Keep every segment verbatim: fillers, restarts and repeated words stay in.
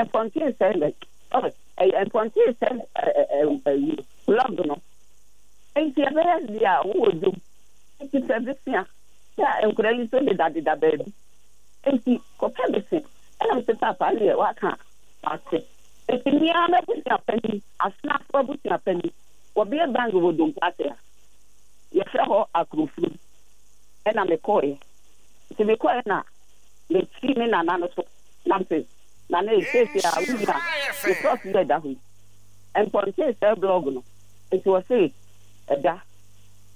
Mpɔnten sɛ ɛ ɛyɛ mpɔnten sɛ ɛ ɛ blog no. Nti ɛbɛyɛ deɛ a wowɔ dwom nti pɛ besia sɛ nkwadaa yi nso dedadeda baabi, nti kɔpɛ besia. Ɛna mese, "Papa ne yɛ waka ate." Nti mmea m'abusua panyin, Asenafo abusua panyin, wɔbea bank wɔ Dompo ase a yɛfrɛ hɔ Akurofuru, ɛna mekɔɔɛ. Nti mekɔɔɛ na mekyi me nana no so na mese, "Nana, esiesie a wonya me plot yɛ da hɔ yi, mpɔnten sɛ blog no." Nti wɔse ɛda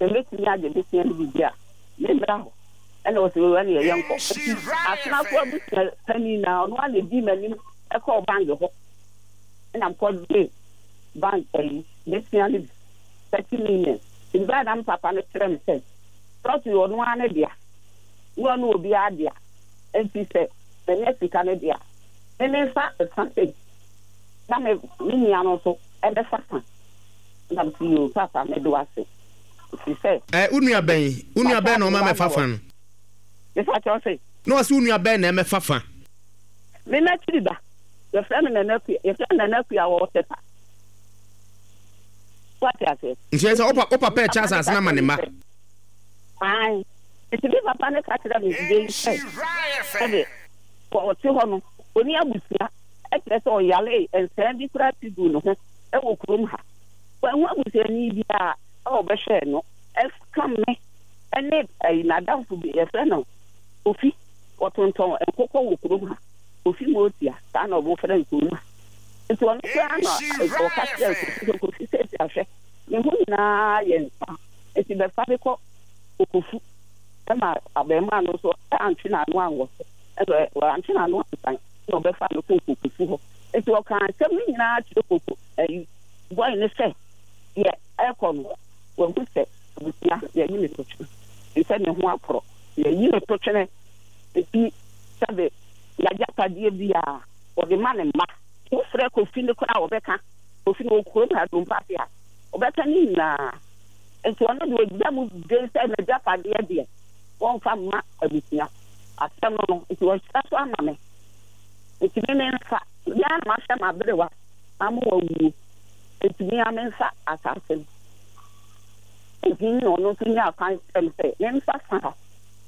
sɛ mɛtumi agye besia no biribi a memmra hɔ. Ɛna wɔsɛ wɔwura ne yɛyɛ nkɔ. Nti Asenafo abusua panyin na ɔno a na edi m'anim ɛkɔɔ bank hɔ, ɛna mkɔgye bank ɛyi besia no bi thirty million. Nti baa na papa no kyerɛ me sɛ plot yi, ɔno ara ne dea ne ɔno obiara dea, nti sɛ manya sika no dea, me memfa fa sei na me me nua no nso ɛbɛfa fa. Na msi, "Yoo papa, mede wase," ɛfiri sɛ Ɛ, wo nua bɛn wo nua bɛn na ɔma mɛfa fa no? Mefa kyerɛ sɛ Na ɔsɛ wo nua bɛn na ɛmɛfa fa? Me n'akyiri ba, yɛfrɛ no Nana Akua, yɛfrɛ no Nana Akua wɔ Tepa. Wate aseɛ? Nti ɛ sɛ wo pa- wo papa ɛkyɛ asase no ama ne mma? Ae, nti me papa ne ka kyerɛ me de yi sɛ sɛde ɔte hɔ no, ɔni abusua, ɛkyerɛ sɛ ɔyare nsɛn bi koraa ti gu ne ho ɛwɔ kurom ha, wahu abusuani biara a ɔbɛhwɛɛ no ɛka me ɛne ɛyi n'adamfo bi yɛfrɛ no Kofi, wɔtontɔn nkokɔ wɔ kurom ha, Kofi Motia, saa na ɔmofrɛ no kurom ha. Nti ɔno koraa na ɔka kyerɛ Kofi sɛ, "Kofi, sɛsi ahwɛ ne ho nyinaa yɛ nsa, nti bɛfa de kɔ Kokofu." Ɛma abɛɛmaa no nso antwe n'ano anwɔ so, ɛna wantwe n'ano ansan na ɔbɛfa no kɔ Kokofu hɔ. Nti ɔka asɛm no nyinaa kyerɛ Koko ɛyi bɔe ne sɛ deɛ ɛkɔ no, wahu sɛ abusua yɛyi ne to twene sɛ ne ho akorɔ, yɛyi ne to twene. Nti sɛbe yɛagyapadeɛ biara wɔde ma ne mma. Wofrɛ Kofi no koraa a, wɔbɛka Kofi no wɔ kurom ha Dompo ase a, wɔbɛka ne nyinaa. Nti ɔno deɛ, ɔgyina mu den sɛ n'agyapadeɛ deɛ, wɔmfa mma abusua. Asɛm no no nti wɔhyira so ama me, nti me memfa mea na mahwɛ m'aberewa ama wawuo, nti mea memfa asase no. Nti na ɔno nso nyaa kwan kyerɛ me sɛ memfa fa ha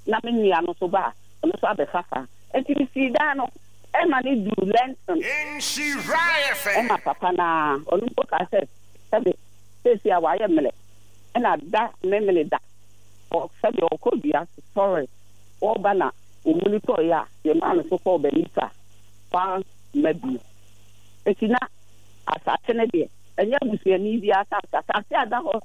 na me nua no nso ba a, ɔno nso abɛfa fa. Nti mesii dan no ɛma ne duru lintel. Ɛma papa naa ɔno mpo kaa sɛ sɛbe seesi a wayɛ mmerɛ, ɛna da memene da sɛbe ɔkɔ dua sɔre wɔba na ɔmuni tɔeɛ a yɛmaa no so kɔɔ banifa wamma bio. Nti na asase no deɛ, ɛnyɛ abusuani bi asase. Asase a da hɔ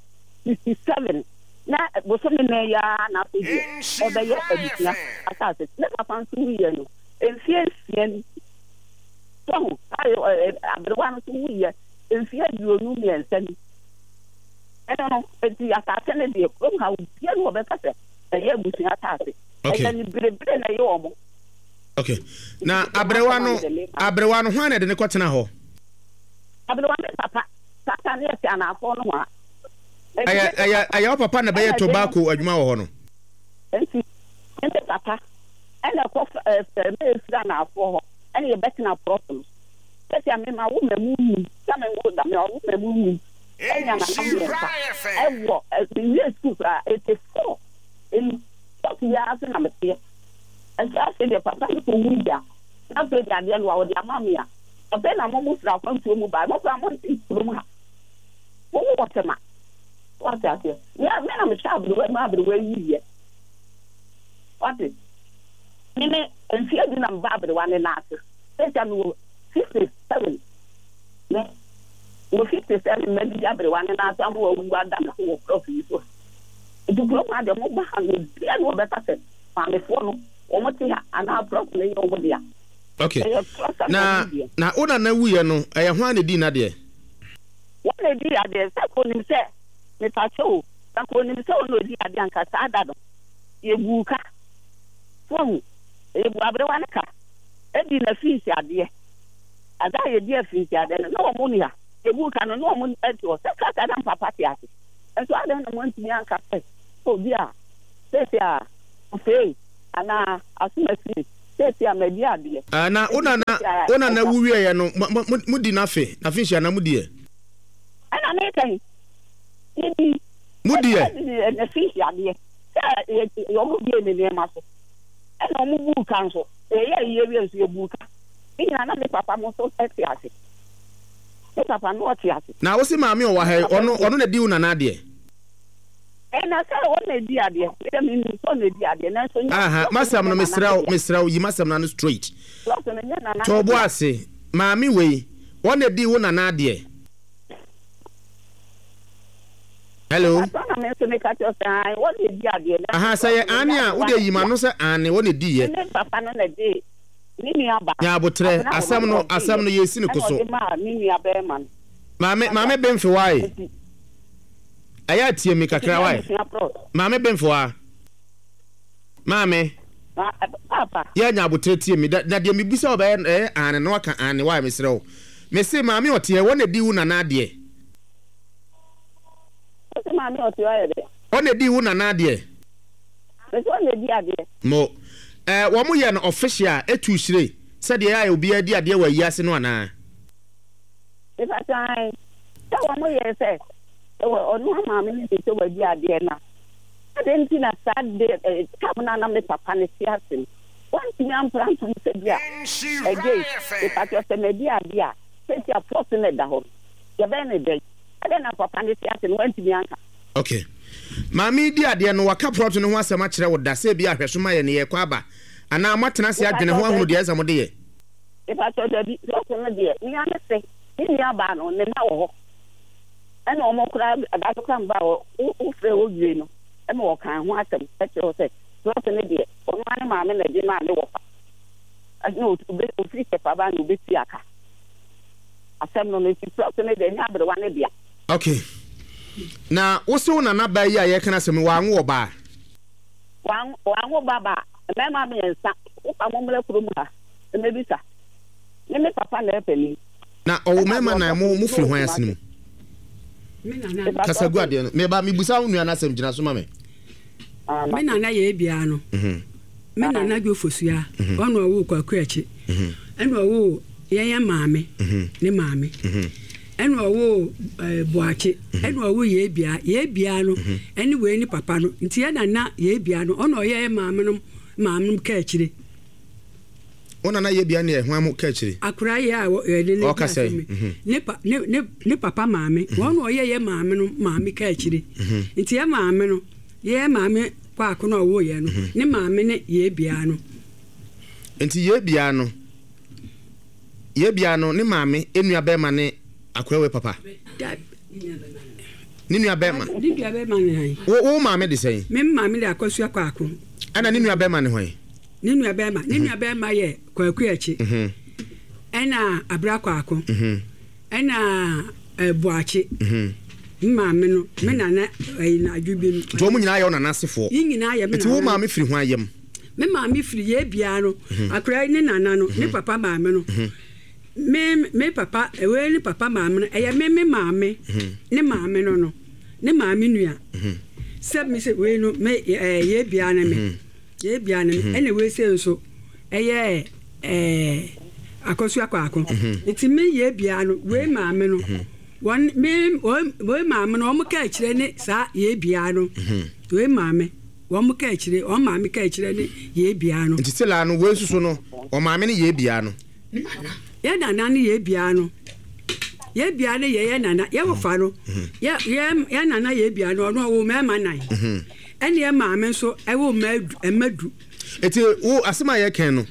sixty seven na bosome nan yi ara na afei deɛ ɛbɛyɛ abusua asase. Ne papa nso wuyɛ no mfie nsia ni so aberewa no nso wuyɛ mfie aduonu mmiɛnsa ni. Ɛno no eti asase no deɛ, kurom ha obiara na wɔbɛka sɛ ɛyɛ abusua asase. Ɛyɛ ne berebere na ɛyɛ wɔn. Okay, na aberewa no aberewa no hwan na ɛde ne kɔtena hɔ? Aberewa ne papa tata ne ɛte anaafo no ho a. ɛyɛ ɛyɛ ɛyɛ wo papa na bɛyɛ tobacco adwuma wɔ hɔ no? Nti ne papa ɛna ɛkɔ ɛɛ mɛ efiri anaafoɔ hɔ, ɛna yɛbɛtena plot no sɛsi a mema wo mɛmu num sɛ me wo da me ɔwo mɛmu num ɛnya nana mmiɛnsa ɛwɔ ɛwie sukuu koraa eighty four emu plot yi ara so na meteɛ. Nti afei deɛ, papa no kɔ wu gya na afei deɛ adeɛ no a wɔde ama me a, afei na mo mo firi akwantuo mu baa mo koraa mo nte kurom ha, mo mo wɔ Tema. Wate aseɛ? Me me na mehyɛ aberewa mu, aberewa yi yɛ wate me me mfie du na meba aberewa ne nan ase. Sɛsia mewɔ fifty seven, me wɔ fifty seven, madi aberewa ne nan ase ama wawu ada me so wɔ plot yi so. Nti kurom ha deɛ, moba ha no, obiara ne wɔbɛka sɛ maamefoɔ no wɔn te ha anaa plot no yɛ wɔn dea. Okay. Ɛyɛ plot a na wɔn deɛ. Na wo nana wuyɛ no, ɛyɛ hwan na di n'adeɛ? Wɔn na edi adeɛ. Sɛ kò onim sɛ mepakyɛ o, sɛ kò onim sɛ wɔn na odi adeɛ anka saa da no yɛbu ka so, yɛbu aberewa ne ka edi na fiisi adeɛ ada a yɛdi afiisi adeɛ no na wɔn ni ha. Yɛbu ka no na wɔn ɛte hɔ sɛ kasa na mpapa te ase nso adan na wɔn ntumi anka sɛ obi a sɛsi a ofee anaa asomasi. Sɛsi a madi adeɛ. Ah, na wo nana wo nana wu wieɛ no mudi n'afe n'afe nhyia na mudi yɛ. Ɛna meka yi yɛdi mudi yɛ n'afe nhyia adeɛ sɛ wɔn bie ne nneɛma so ɛna wɔn buu ka nso yɛyɛ yie wie nso yɛbuu ka ne nyinaa na me papa mo nso te ase me papa no ɔte ase. Na wosi maame ɔwɔ ha yi ɔno ɔno na di wo nana adeɛ. Ɛna sɛ ɔno na di adeɛ mede me nim sɛ ɔno na di adeɛ nanso nyɛ. Aha masɛm no mesrɛ wo mesrɛ wo yi masɛm no ano straight. To bo ase maame wei ɔno na di wo nana adeɛ. Hello. Aha sɛ yɛ ane a wode yi ma no sɛ ane wɔn na di yɛ. Ne papa no na di ne nua ba. Nya abotrɛ asɛm no asɛm no yɛsi ne koso. Maame maame bemfe wae. Ɛyɛ atie mi kakra wae. Maame bemfe wa. Maame. Yɛ nya abotrɛ tie mi na deɛ mebisa ɔbɛyɛ ɛyɛ ane na waka ane wae mesrɛ wo. Mese maame ɔteɛ wɔn na di wo nana adeɛ. Ɔna di wo nana adeɛ. Mo eh wɔn yɛ no official etu hyire sɛdeɛ yɛ a obiara di adeɛ wɔ ayi ase no anaa. Nipa sɛ wɔn yɛ sɛ ɔno maame no de sɛ wadi adeɛ na ade nti na saa de tam na na me papa ne te ase no wɔntumi ampra ntom sɛ bi a ɛgye nipa sɛ madi adeɛ a sɛ ti a plot na ɛda hɔ yɛbɛn ne dɛn ɛdɛn na papa ne te ase no wɔntumi anka. Okay. Maame di adeɛ no waka plot no ho asɛm akyerɛ wo da sɛ bi ahwɛso ma yɛ ne yɛkɔ aba anaa moatena ase adwene ho ahunu deɛ ɛsɛ mo de yɛ. Nipa sɛ dabi plot no deɛ nea ne se ne nua baa no ne ma wɔ hɔ ɛna ɔmo kora adaso kora mba hɔ wofrɛ wɔ wie no ɛma wɔkan ho asɛm ɛkyerɛ wo sɛ plot no deɛ ɔno ane maame na ɛde maa ne wɔfa ɛna ofiri kyɛfa ba na obɛtua aka asɛm no no nti plot no deɛ nyɛ aberewa ne dea. Okay. Na wo se wo nana ba yi a yɛka na asɛm wanwo ɔbaa. Wanwo ba ba mmarima mmiɛnsa wofa mo mmra kurom ha mmɛbisa ne me papa na ɛpɛ. Na ɔwo mmarima na mo mo firi hwan ase mu. Kasa gu adeɛ no meba mebusa wo nua no asɛm gyina so ma me. Me nana yɛ ebia no. Me nana dwofosua ɔno ɔwo Kwaku akyi. Ɛna ɔwo yɛyɛ maame ne maame. Ɛna ɔwo Boakye ɛna ɔwo yɛ ebia yɛ ebia no ɛne wei ne papa no nti yɛ nana yɛ ebia no ɔno ɔyɛ maame no maame no ka akyire. Ɔna na yɛ ebia ne ɛho amu ka akyire. Akora yɛ a yɛde ne ɔka sɛ ne pa ne ne ne papa maame wɔn ɔyɛ yɛ maame no maame ka akyire nti yɛ maame no yɛ maame kwaako na ɔwo yɛ no ne maame ne yɛ ebia no. Nti yɛ ebia no yɛ ebia no ne maame enua bɛrima ne akora we papa. Ne nua bɛrima. Ne nua bɛrima ne hwan? Wo wo maame de sɛn? Me maame de Akosua Kwaako. Ɛna ne nua bɛrima ne hwan? Ne nua bɛrima ne nua bɛrima yɛ Kwaku akyi. Ɛna Abra Kwaako. Ɛna Boakye. Me maame no me nana ɛyi na adwo bi no. Nti wɔn nyinaa yɛ wo nana asefoɔ. Yi nyinaa yɛ me nana. Nti wo maame firi hwan yam? Me maame firi yɛ ebia no. Akora ne nana no ne papa maame no. Me me papa ewe ne papa maame no ɛyɛ me me maame ne maame no no ne maame nua. Sɛ me sɛ we no me ɛɛ yɛ bia ne me yɛ bia ne me ɛna we sɛ nso ɛyɛ ɛɛ Akosua Kwaako nti me yɛ bia no we maame no wɔn me we maame no wɔn ka akyire ne saa yɛ bia no we maame wɔn ka akyire wɔn maame ka akyire ne yɛ bia no. Nti sɛ la no we nso no wɔn maame ne yɛ bia no. Yɛ nana ne yɛ bia no yɛ bia ne yɛ yɛ nana yɛ wɔfa no yɛ yɛ yɛ nana yɛ bia no ɔno ɔwɔ mmarima nan ɛne yɛ maame nso ɛwɔ mma du. Eti wo asɛm a yɛ kɛn no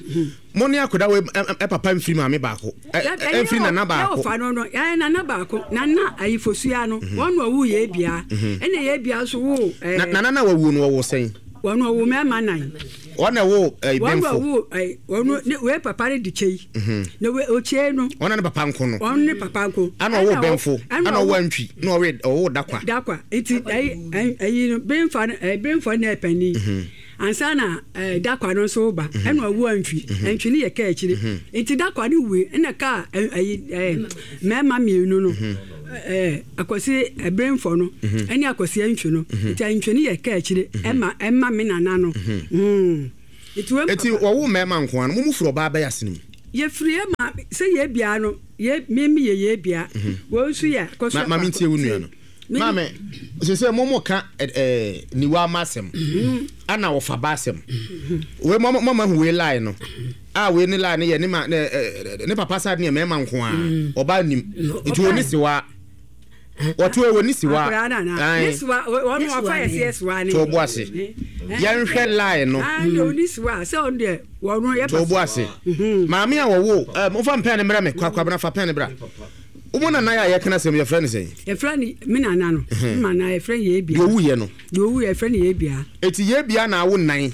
mo ne akoda wo ɛ papa mfiri maame baako ɛ mfiri nana baako. Yɛ wɔfa no no yɛ nana baako nana ayifosua no wɔn na ɔwɔ yɛ bia ɛne yɛ bia nso wo. Nana na wawu no ɔwɔ sɛn. Wɔn ɔwɔ mmarima nan. Wɔn na ɛwɔ ɛyi bɛnfo. Wɔn wɔ ɛyi wɔn ne wei papa ne di kyei. Na wei okyei no. Wɔn ne papa nko no. Wɔn ne papa nko. Ana ɔwɔ bɛnfo. Ana ɔwɔ antwi. Na ɔwɔ ɔwɔ dakwa. Dakwa nti ɛyi ɛyi no bɛnfa no ɛyi bɛnfo ne ɛpɛni. Ansa na ɛɛ dakwa no nso ba. Ɛna ɔwɔ antwi. Antwi ne yɛ kaa akyire. Nti dakwa no wui ɛna kaa ɛyi ɛɛ mmarima mmienu no. Ɛɛ Akwasi ɛbɛnfo no. Ɛne Akwasi antwi no. Nti antwi ne yɛ kaa akyire ɛma ɛma me nana no. Mm. Eti wɔwo mmarima nko ara no, mo mu firi ɔbaa bɛyɛ asene mu. Yɛfiri yɛ ma sɛ yɛ bia no yɛ mimi yɛ yɛ bia. Wɔn nso yɛ kɔsɔ. Maame ntie wo nua no. Maame sese mo mo ka ɛɛ niwa ama asɛm. Ana wɔfa ba asɛm. Wei mo mo ma hu wei line no. A wei ne line yɛ ne ma ne ne papa side ne mmarima nko ara. Ɔbaa nim. Nti wɔn ni siwa. Wɔto wɔ ni siwa. Ne siwa wɔn wɔfa yɛ si siwa ne. To bo ase. Yɛnhwɛ line no. Ah ne oni siwa sɛ ɔno deɛ wɔn yɛ. To bo ase. Maame a wɔwo ɛ mo fa mpɛn ne mmerɛ me kwakwabena fa pɛn ne bra. Wo nana yɛ a yɛka asɛm yɛfrɛ ne sɛn? Yɛfrɛ ne me nana no. Me nana yɛfrɛ ne yɛ bia. Deɛ owu yɛ no. Deɛ owu yɛ yɛfrɛ ne yɛ bia. Eti yɛ bia na awo nan.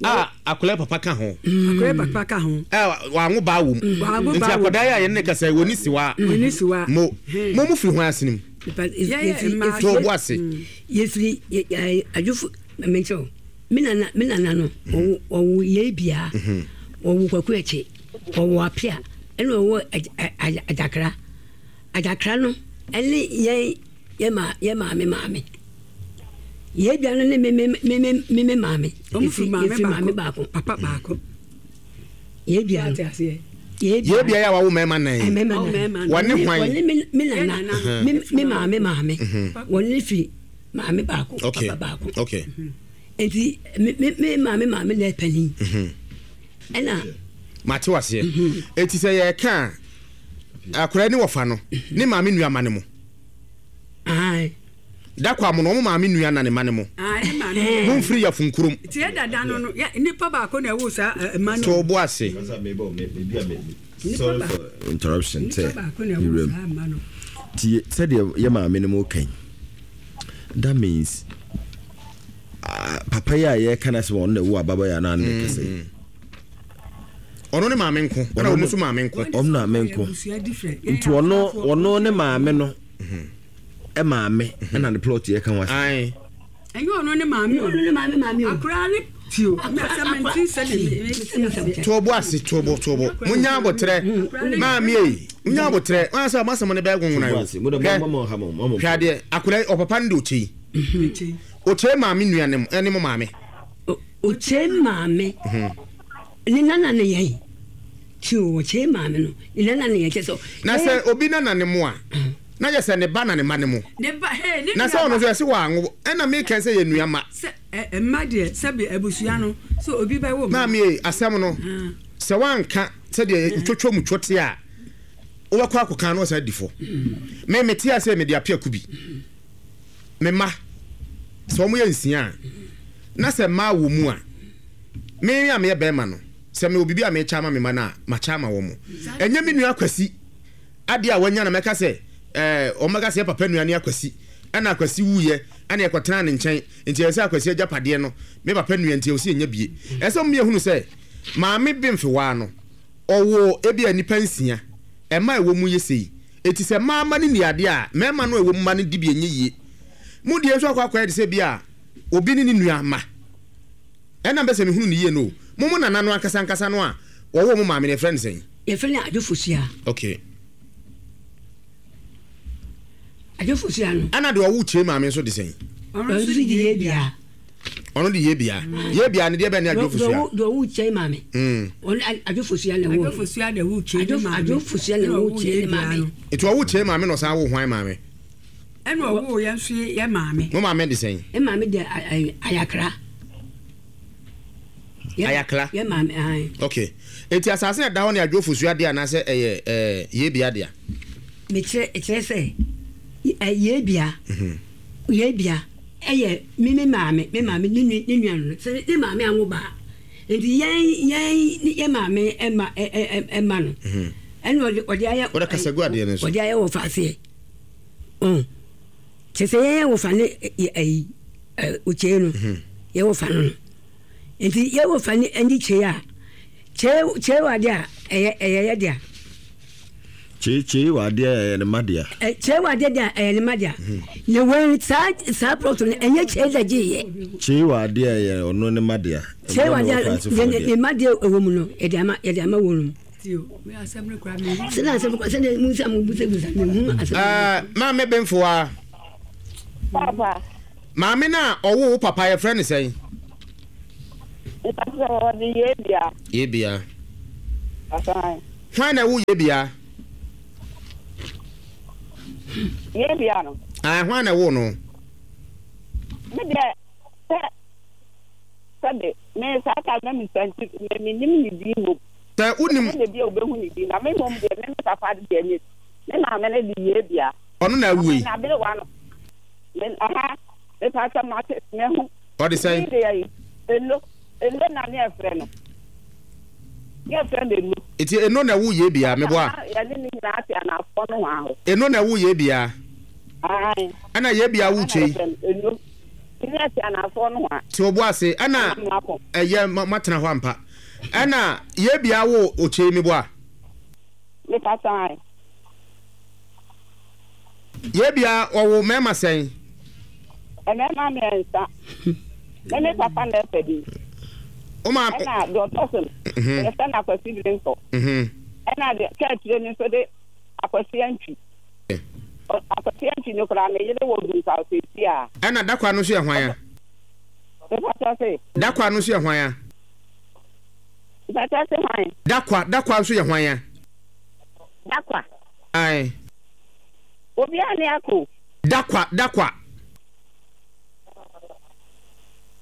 A akwadaa papa ka ho. Akwadaa papa ka ho. Ɛ wango baa wom. Wango baa wom. Nti akwadaa yɛ a yɛn ne kasa wɔ ni siwa. Wɔ ni siwa. Mo mo mo firi ho asenim. Yɛ To bo ase. Yɛfiri adwofo menkyɛw. Me nana me nana no ɔwo ɔwo yɛ bia. Ɔwo kwaku akyi. Ɔwo apia. Ɛna ɔwo adakra. Adakra no ɛne yɛn yɛ ma yɛ maame maame. Yɛ bia no ne me me me me me maame. Ɔmo firi maame baako. Papa baako. Yɛ bia no. Yɛ bia yɛ a wawo mmarima nan. Mmarima nan. Wɔne hwan? Wɔne me me nana. Me me maame maame. Wɔne firi maame baako. Papa baako. Okay. Nti me me me maame maame na ɛpanin. Ɛna. Mate waseɛ. Eti sɛ yɛka akwadaa ni wɔfa no ne maame nua ma ne mo. Ayi. Dakwa mo no ɔmo maame nua na ne ma ne mo. Mo nfiri yɛ funkurom. Ti yɛ dada no no yɛ nipa baako na ɛwɔ saa ɛma no. To bo ase. Sorry for interruption. Nipa baako na ɛwɔ saa ɛma no. Ti sɛdeɛ yɛ maame no mo kan. That means uh, papa yi a yɛka no asɛm ɔno na ɛwɔ ababaawa no ano ne kɛsɛ yi. Ɔno ne maame nko. Ɛna ɔno nso maame nko. Ɔno na maame nko. Nti ɔno ɔno ne maame no maame ɛna ne plot yɛ ka ho asɛm. Ɛnyɛ ɔno ne maame o. Ɔno ne maame maame o. Akora ne tio. Tobo ase tobo tobo. Munya abotrɛ. Maame yi. Munya abotrɛ. Wɔn asɛ ɔmo asɛm ne bɛɛ gongon ayo. Hwɛ adeɛ akora ɔpapa ne de ɔkyɛ yi. Ɔkyɛ maame nua ne mo ɛne mo maame. Ɔkyɛ maame. Ne nana ne yɛn. Tio ɔkyɛ maame no. Ne nana ne yɛn kyɛ sɛ. Na sɛ obi nana ne mo a. Na yɛ sɛ ne ba na ne ma ne mo. Ne ba he ne Na sɛ ɔno nso yɛse wɔ anwo ɛna meka sɛ yɛ nua ma. Sɛ mma deɛ sɛbe abusua no sɛ obi bɛwo mma. Maame asɛm no sɛ wanka sɛdeɛ ntwotwo mu twote a wobɛkɔ akɔka no ɔsan di fo. Me mete ase mede apiaku bi. Me ma sɛ wɔn yɛ nsia a na sɛ mmaa wɔ mu a me a meyɛ bɛrima no sɛ mewɔ biribi a mekyɛ ama me ma no a makyɛ ama wɔn. Ɛnyɛ me nua Kwasi adeɛ a wanya na mɛka sɛ ɛɛ wɔn bɛka sɛ yɛ papa nua ne Akwasi ɛna Akwasi wuyɛ ɛna yɛkɔtena ne nkyɛn nti ɛsɛ Akwasi agyapadeɛ no me papa nua nti ɛwɔ sɛ yɛnya bie. Ɛsɛ wɔn yɛhunu sɛ maame Bemfewaa no ɔwɔ ebi a nipa nsia ɛma ɛwɔ mu yɛ sei eti sɛ mmaa ma ne ni adeɛ a mmarima no ɛwɔ mu ma no di bi enye yie mu deɛ nso akɔ akɔyɛ de sɛ bi a obi ne ne nua ma ɛna mbɛ sɛ mehunu ne yie no mo mo nana no ankasa ankasa no a wɔwɔ mo maame no yɛfrɛ no sɛn? Yɛfrɛ no Adwofosua. Okay. Adwofosua no. Ɛna deɛ ɔwo kyerɛ maame nso de sɛn? Ɔno nso de yɛ bia. Ɔno de yɛ bia. Yɛ bia ne deɛ bɛn ne Adwofosua? Deɛ ɔwo kyerɛ maame. Ɔno Adwofosua na ɛwɔ. Adwofosua na ɛwo kyerɛ maame. Adwofosua na ɛwo kyerɛ maame. Nti ɔwo kyerɛ maame na ɔsan wo hwan maame? Ɛna ɔwo yɛn nso yɛ maame. Mo maame de sɛn? Yɛ maame de ayakra. Ayakra. Yɛ maame ayi. Okay. Eti asase na da hɔ ne Adwofosua deɛ anaasɛ ɛyɛ ɛɛ yɛ bia deɛ? Mekyerɛ kyerɛ sɛ yɛ bia. Yɛ bia ɛyɛ me me maame me maame ne ne nua no sɛ ne maame anwo baa nti yɛn yɛn yɛ maame ɛma ɛma no ɛna ɔde ɔde ayɛ ɔde kasa gu adeɛ no so ɔde ayɛ wɔ faaseɛ ɔn kyerɛ sɛ yɛn yɛ wɔ fa ne ɛyi ɔkyɛn no yɛ wɔ fa no no nti yɛ wɔ fa ne ɛne kyɛn a kyɛn kyɛn wɔ adeɛ a ɛyɛ ɛyɛ yɛ deɛ. Kyee kyee wɔ adeɛ a ɛyɛ ne ma dea. Kyee wɔ adeɛ deɛ ɛyɛ ne ma dea. Na wɔn saa saa plot no ɛnyɛ kyee na gye yɛ. Kyee wɔ adeɛ a ɛyɛ ɔno ne ma dea. Kyee wɔ adeɛ ne ne ma deɛ ɛwɔ mu no yɛde ama yɛde ama wɔn mu. Sɛnɛ asɛm kɔ sɛnɛ mu nsa mu busa busa mu hu asɛm. Ɛɛ maame Bemfoa. Papa. Maame na ɔwɔ wo papa yɛfrɛ ne sɛn? Papa Mepakyɛ wɔde Yebia. Yebia. Asan. Hwan na ɛwo Yebia? Yebia no. Ah, hwan na ɛwo no? Me deɛ sɛ sɛbe me saa ta na me santi me me nim ne din mmom. Sɛ wonim. Me na bi a obehu ne din na me mmom deɛ me me papa deɛ ne me maame ne de Yebia. Ɔno na awu yi. Na aberewa no. Me aha me pakyɛ mate me ho. Ɔde sɛn? Ne deɛ yi eno eno na ne ɛfrɛ no. Ne ɛfrɛ no eno. Eti eno na ɛwo Yebia meboa. Yɛne ne nyinaa te anafoɔ no ho ahɔ. Eno na ɛwo Yebia. Ae. Ɛna Yebia wo kyei. Eno. Ne te anafoɔ no ho a. Te obo ase ɛna ɛyɛ matena hɔ ampa. Ɛna Yebia wo okyei meboa. Me pakyɛ. Yebia ɔwo mmarima sɛn? Mmarima mmiɛnsa. Me me papa na ɛfɛ bi. Oma ɛna deɛ ɔtɔ so no. Yɛfrɛ no Akwasi Birinkɔ. Ɛna deɛ kɛɛtire no nso de Akwasi Antwi. Akwasi Antwi no koraa ne yere wɔ Dunkaw seesei a. Ɛna Dakwa no nso yɛ hwan a? Mepakyɛ se. Dakwa no nso yɛ hwan a? Mepakyɛ se hwan? Dakwa Dakwa nso yɛ hwan a? Dakwa. Ae. Obiara ne ako. Dakwa Dakwa.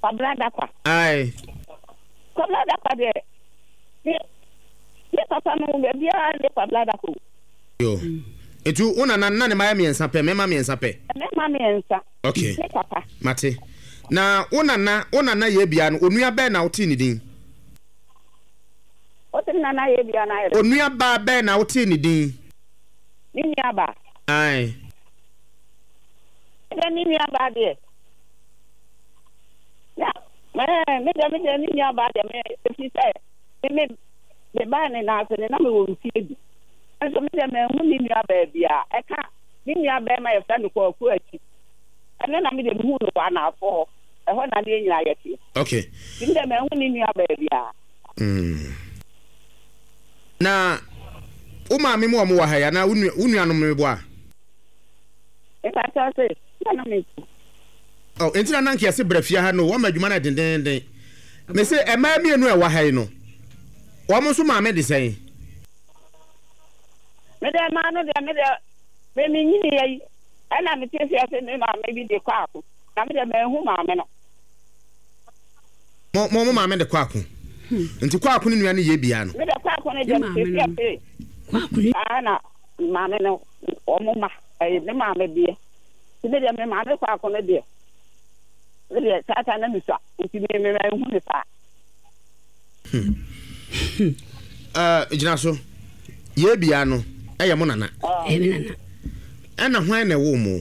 Kwabena Dakwa. Ae. Kwabena Dakwa deɛ ne ne papa no baabiara ne Kwabena Dakwa o. Yo. Etu wo nana na ne mma yɛ mmiɛnsa pɛ, mmarima mmiɛnsa pɛ. Mmarima mmiɛnsa. Okay. Ne papa. Mate. Na wo nana wo nana Yebia no onua bɛn na wotee ne din? Wote me nana Yebia no ayɛ dɛ. Onua baa bɛn na wotee ne din? Ne nua baa. Ae. Me deɛ me nua baa deɛ. Na me deɛ me deɛ me nua baa deɛ me efi sɛ me me me baa ne nan ase ne na me wɔ mfie du. Nso me deɛ manhu ne nua baa biara. Ɛka ne nua bɛrima yɛfrɛ no Kwaku akyi. Ɛno na me deɛ mehu no wɔ anaafo hɔ. Ɛhɔ na ne yɛn nyinaa yɛteɛ. Okay. Nti me deɛ manhu ne nua baa biara. Mm. Na wo maame mu a wɔwɔ ha yi anaa wo nuanom meboa? Mepakyɛw se, na na me nko. Oh, enti na na nka yɛse bra fie ha no, wɔma adwuma no dendeenden. Mese mmaa mmienu a ɛwɔ ha yi no, wɔn nso maame de sɛn? Me deɛ mmaa no deɛ me deɛ me me nyini yɛ yi ɛna me te seɛ se me maame bi de kɔ ako na me deɛ manhu maame no. Mo mo mo maame de kɔ ako nti kɔ ako ne nua ne yɛ bia no. Me deɛ kɔ ako no deɛ me te seɛ se saa na maame no wɔn ma ɛyɛ me maame deɛ nti me deɛ me maame kɔ ako no deɛ me deɛ saa saa na me sua nti me me manhu ne saa. Hmm. Uh, gyina so. Yɛ bia no ɛyɛ mo nana. Ɛyɛ me nana. Ɛna hwan na ɛwɔ mo?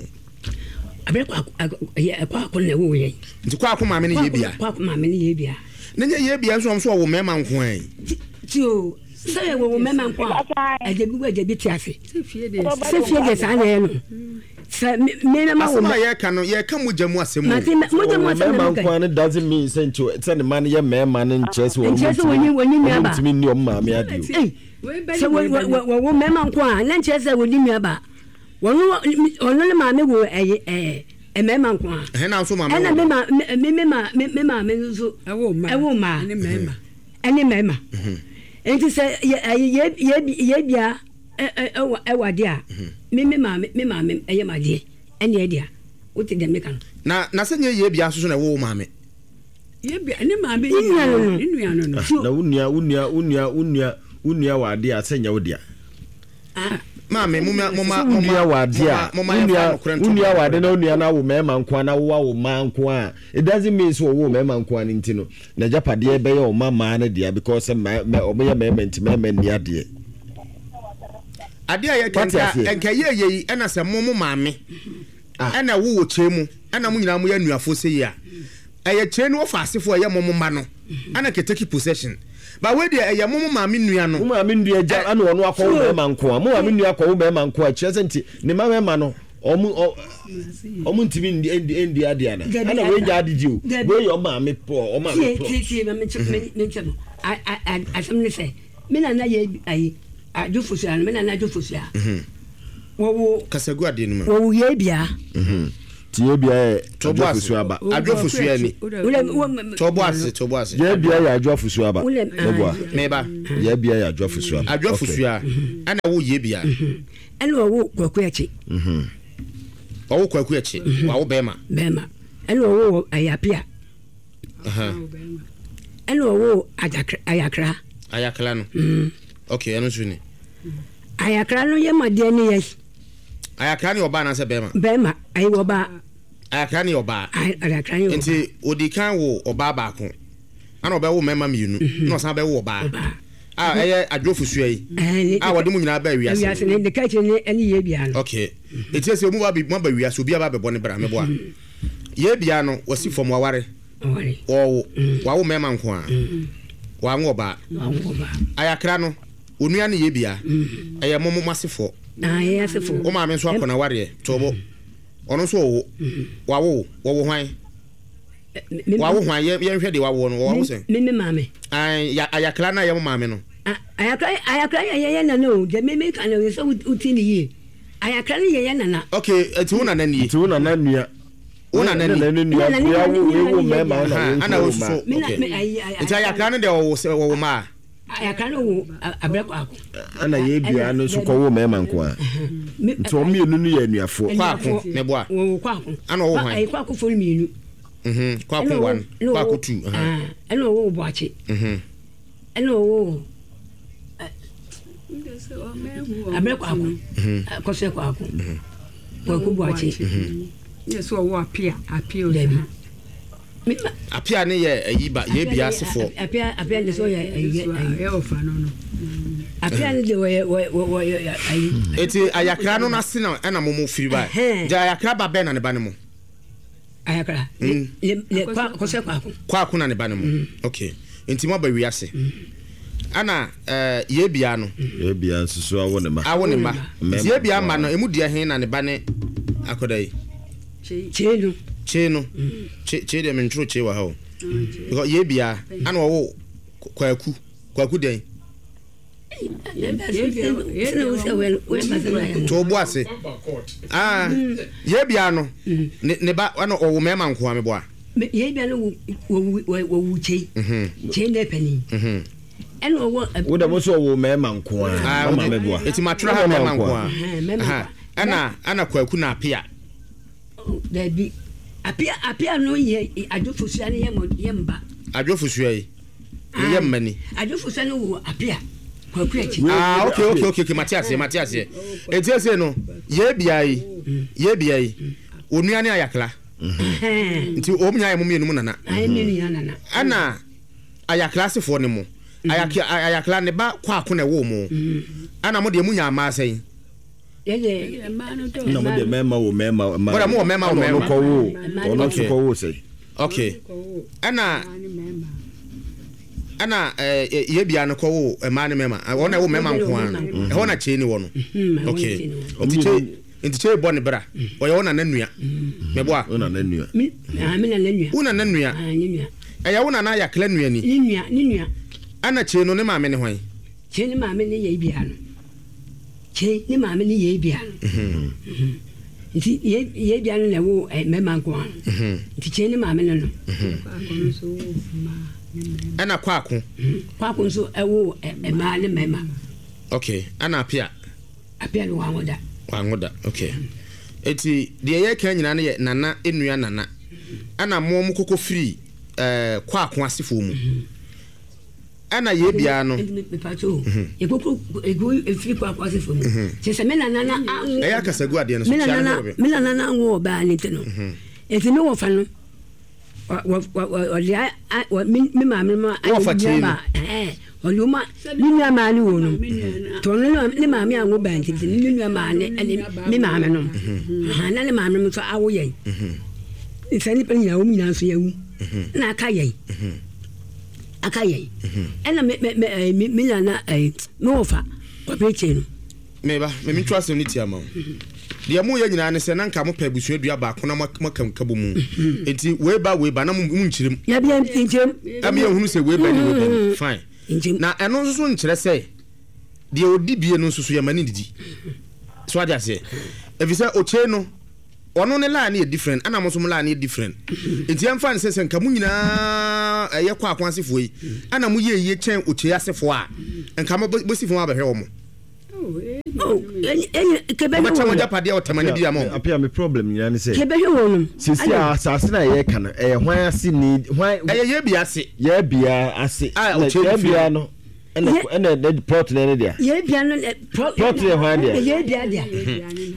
Abɛ kɔ ako ɛyɛ kɔ ako na ɛwɔ yɛn. Nti kɔ ako maame ne yɛ bia. Kɔ ako maame ne yɛ bia. Ne nyɛ yɛ bia nso ɔmo so ɔwɔ mmarima nko ara yi. Ti o sɛ yɛ wɔ mmarima nko a ɛgya bi wɔ ɛgya bi te ase. Sɛ fie deɛ saa na ɛyɛ no. Sɛ me na ma wɔ. Asɛm a yɛka no yɛka mogya mu asɛm o. Mate mogya mu asɛm na mmarima meka. nko ara no doesn't mean sɛ nti sɛ ne mma no yɛ mmarima no nkyerɛ sɛ wɔn Nkyerɛ sɛ wɔnyi wɔnyi wɔn nua ba. ntumi nni wɔn maame ade o. Ei, sɛ wɔ wɔ wɔ wɔwo mmarima nko a na nkyerɛ sɛ wɔdi nua ba. Wɔno ɔno ne maame wo ɛyɛ ɛɛ mmarima nko a. Ɛhɛn na nso maame Ɛna wɔ. me ma me me me ma me me maame nso Ɛwo mmaa. ɛwo mmaa Ɛne mmarima. ɛne mmarima. Nti sɛ yɛ ɛyɛ yɛ yɛ yɛ bia ɛ ɛ ɛwɔ ɛwɔ adeɛ a me me maame me maame ɛyɛ ma adeɛ ɛne ɛdeɛ wote deɛ meka no. Na na sɛ nyɛ yɛ bia nso so na ɛwɔ wo maame. Yɛ bia ne maame Ne nua no no. Ne nua no no. Na wo nua wo nua wo nua wo nua wo nua wɔ adeɛ a sɛ nyɛ wo dea. Ah. Maame mo ma mo ma Sɛ wo nua wɔ adeɛ a mo ma wo yɛmfa nua nokorɛ wo nto nua wɔ nokorɛ. ade na wo nua no awo mmarima nko a na wo awo mmaa nko a it doesn't mean sɛ ɔwɔ mmarima nko a no nti no n'agyapadeɛ bɛyɛ ɔma mmaa no dea because sɛ mmaa mɛ ɔmo yɛ mmarima nti mmarima nni adeɛ. Adeɛ a yɛka Wate nka aseɛ? nka yɛ yɛ yi ɛna sɛ mo mo maame Ah. ɛna ɛwo wɔ kyerɛ mu ɛna mo nyinaa mo yɛ anuafoɔ sɛ yi a ɛyɛ kyerɛ no wɔfa asefoɔ ɛyɛ mo mo mma no ɛna kɛ take possession ba wei deɛ ɛyɛ mo mo maame nua no Mo maame nua gya ɛna ɔno akɔwo mmarima nko a mo maame nua akɔwo mmarima nko a kyerɛ sɛ nti ne mma mmarima no ɔmo ɔ ɔmo ntumi ndi ndi ndi adeɛ ana Dabi, ɛna wei gya ade gye o Dabi. wei yɛ ɔmaame pɔ ɔmaame tie plot. tie tie ma menkyɛ me menkyɛ no a a a asɛm ne sɛ me nana yɛ ayi adwo fosua no me nana adwo fosua wɔwo kasagu adeɛ no mu wɔwo yɛ bia Ti yɛ bia yɛ adwo afusu aba. Adwo afusu ani. To bo ase, to bo ase. Yɛ bia yɛ adwo afusu aba. Meboa. Meba. Yɛ bia yɛ adwo afusu aba. Adwo afusu a. Ana wo yɛ bia. Ana wo kwaku akyi. Mhm. Wo kwaku akyi. Wa wo bema. Bema. Ana wo ayapia. Aha. Ana wo ajakra ayakra. Ayakra no. Mhm. Okay, eno so ni. Ayakra no ye made ne ye. Ayakra ne oba na se bema. Bema, ayi oba. Ayakra ne oba. Ayakra ne oba. Nti odi kan wo oba ba ko. Ana oba wo mema mienu. Na osan be wo oba. Ah, eye adwofusu yi. Ah, wode mu nyina ba wiase. Wiase ne de ka kire ne ene ye bia no. Okay. Eti se mu ba bi mu ba wiase obi aba be bɔ ne bra me boa. Ye bia no wasi fam waware. Waware. Wo wa wo mema nko a. Wa nwo oba. Wa nwo oba. Ayakra no onua ne ye bia. Eye momo masefo. Ah, ye asefo. O ma me nso akona ware tobo. Ono nso wo. Wa wo, wo wo hwan? Wa wo hwan ye ye nhwe de wa wo no, wo wo sen. Me me maame. Ai ayakra na ye mo maame no. Ayakra ayakra ye ye nana o, de me me kan no so uti ni ye. Ayakra ne ye ye nana. Okay, eti wo nana ni. Eti wo nana nua. Wo nana ni. Nua wo wo me ma na ana wo so. Okay. Eti ayakra ne de wo wo ma. Ayakra no wo abrɛ kwako. Ana ye bia no so kɔ wo mema nko a. Nti o mienu no ye anuafo. Kwako me boa. Wo kwako. Ana wo hwan? Ai kwako fo mienu. Mhm. Kwako one, kwako two. Ah, ana wo boache. Mhm. Ana wo abrɛ kwako. Mhm. Akɔsɛ kwako. Mhm. Kwako boache. Mhm. Yes, wo apia, apia o. Apia ne ye ayi ba ye bia asefo. Apia apia ne so ye ye ofa no no. Apia ne de wo wo ayi. Eti ayakra no na se na na momo firi ba. Ja ayakra ba ben na ne ba ne mo. Ayakra. Le le kwa kose kwako. Kwako na ne ba ne mo. Okay. Enti mo ba wiase. Ana eh ye bia no. Ye bia nsusu awo ne ma. Awo ne ma. Ye bia ma no emu de hen na ne ba ne akoda yi. Che no. Che no. Che che de mentro che wa ha o. Because ye bia ana wo kwaku kwaku den. To bo ase. Ah, ye bia no ne ne ba ana owo mema nko ame boa. Ye bia no wo wo wo che. Che ne pani. Mhm. Eno wo wo da mo so wo mema nko a. Mama me boa. Eti matra ha mema nko a. Aha. Ana ana kwaku na apia. Dabi. Apia apia no ye adwofosua ne ye mba. Adwofosua yi. Ye mma ni. Adwofosua no wo apia. Kwaku achi. Ah, okay okay okay okay Matias Matias. Eti ese no ye bia yi. Ye bia yi. Onua ne ayakla. Nti o nya ye mo mienu mu nana. Ai mienu ya nana. Ana ayakla sefo ne mo. Ayakla ayakla ne ba kwako na wo mo. Ana mo de mu nya ama asen. Yeye na mo de mema wo mema ma. Mo mo mema wo mema. Ko wo. Ono so ko wo sei. Okay. Ana ana eh ye bia no ko wo ma ne mema. Ona wo mema nko an. E ho na che ni wo no. Okay. Nti che nti che bo ne bra. Oye wo na na nua. Me boa. Wo na na nua. Me ah me na na nua. Wo na na nua. Ah ni nua. Eya wo na na yakla nua ni. Ni nua, ni nua. Ana che no ne maame ne hwan? Che ne maame ne ye bia no. Che ne maame ne ye bia no. Mhm. Nti ye ye bia no na wo mema nko an. Mhm. Nti che ne maame ne no. Mhm. Ana kwako. Kwako nso ewo ma ne mema. Okay, ana apia. Apia no wangoda. Wangoda. Okay. Eti de ye kan nyina ne ye nana enua nana. Ana mo mo kokofiri eh kwako asefo mu. Ana ye bia no. Me pacho. E kokro egu efiri kwako asefo mu. Che se me nana na e ya kasagu ade no so me nana me nana na wo ba ni te no. Eti me wo fa no. Wa wa wa me maame ma ma eh oluma ni nua ma ni wo no to no ne maame anwo ba nti ni nua ma ne me maame no ha na ne maame no so awo yen nsa ni pa nyina wo nyina so yawu na aka yen aka yen ena me me me na eh me wo fa kwa preche no me ba me me trust ni tia ma de mo ye nyina ne se na nka mo pa abusua dua ba ko na makam kabo mu enti we ba we ba na mu nkyirem ya bia nkyirem am ye hunu se we ba ni we ba ni fine na eno nso so nkyerɛ sɛ de odi bie no nso so ye mani didi so ade ase efi sɛ oche no Ɔno ne line yɛ different, ɛna mo nso mo line yɛ different. Nti yɛmfa ne sɛ sɛ nka mo nyinaa ɛyɛ kɔ ako asefoɔ yi, ɛna mo yɛ yie kyɛn Okyei asefoɔ a, nka mo bɛsi fam abɛhwɛ wɔn. Ɔbɛkyɛ mo agyapadeɛ ɔtamani bi ama wɔn. Apia me problem nyinaa ne sɛ. Kɛbɛhwɛ wɔn no. Sisi a asase na yɛreka no ɛyɛ hwan ase ni hwan. Ɛyɛ yɛ bia ase. Yɛ bia ase. A Okyei yɛ bia no. Ɛna ɛna ɛna plot na ɛne dea. Yɛ bia no plot yɛ hwan dea. Yɛ bia dea.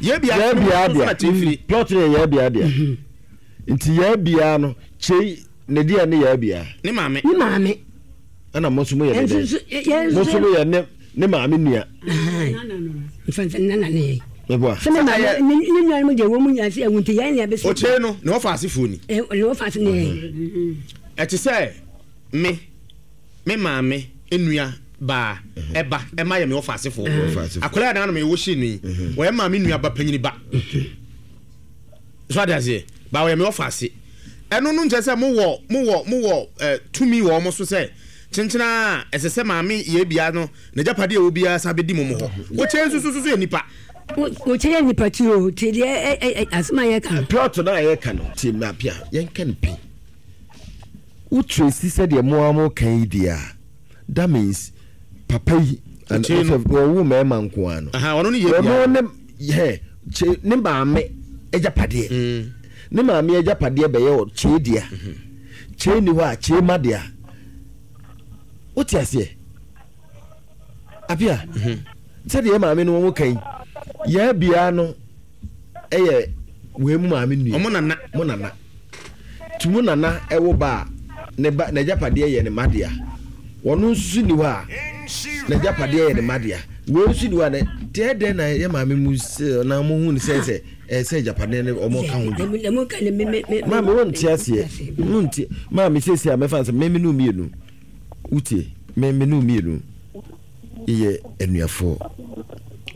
Yɛ bia yɛ bia dea. Plot yɛ yɛ bia dea. Nti yɛ bia no Kyei ne dea ne yɛ bia. Ne maame. Ne maame. Ɛna mo nso mo yɛ ne dɛ. Mo nso mo yɛ ne ne maame nua. Nfansa nana ne yɛ. Meboa. Sɛ ne maame ne ne nua no deɛ wɔn mu nyinaa sɛ ɛwɔ nti yɛn nea bɛsi. Okyei no ne wɔfa asefoɔ ni. Ne wɔfa ase ne yɛn. Ɛte sɛ me me maame nua baa ɛba ɛma yɛ me wɔfa asefoɔ. Akwadaa yɛ nanom ɛwɔ hyɛ no yi wɔyɛ maame nua ba panyini ba. So ade aseɛ ba wɔyɛ me wɔfa ase. Ɛno no nkyɛ sɛ mowɔ mowɔ mowɔ ɛ tumi wɔ wɔn so sɛ kyenkyena a ɛsɛ sɛ maame yɛ bia no n'agyapadeɛ ɛwɔ biara san bɛdi mo mo hɔ. Okyei nso so so yɛ nipa. Okyei yɛ nipa ti o ti deɛ ɛ ɛ asɛm a yɛka no. Plot no a yɛka no ti ma pia yɛnka no pii. Wo tracy sɛdeɛ mo a mo kan yi deɛ a that means papa yi wɔwo mmarima nko ara no. Ɔno ne yɛ bia. Ɔno ne yɛ kye ne maame agyapadeɛ. Ne maame agyapadeɛ bɛyɛ Kyei dea. Kyei ni hɔ a Kyei ma dea. Wote aseɛ Apia sɛdeɛ maame no wɔn kan yɛ bia no ɛyɛ wei mu maame nua. Ɔmo nana. Mo nana. Tu mo nana ɛwo ba a ne ba n'agyapadeɛ yɛ ne ma dea. Wɔn nso ni hɔ a n'agyapadeɛ yɛ ne ma dea. Wei nso ni hɔ a ne deɛ dɛn na yɛ maame mu sɛ na mo hu ne sɛ sɛ ɛsɛ agyapadeɛ ne ɔmo ka ho bi. Maame wɔn ti aseɛ wɔn ti maame siesie a mɛfa nsɛ mɛmi nu mmienu wutie mɛmi nu mmienu yɛ anuafoɔ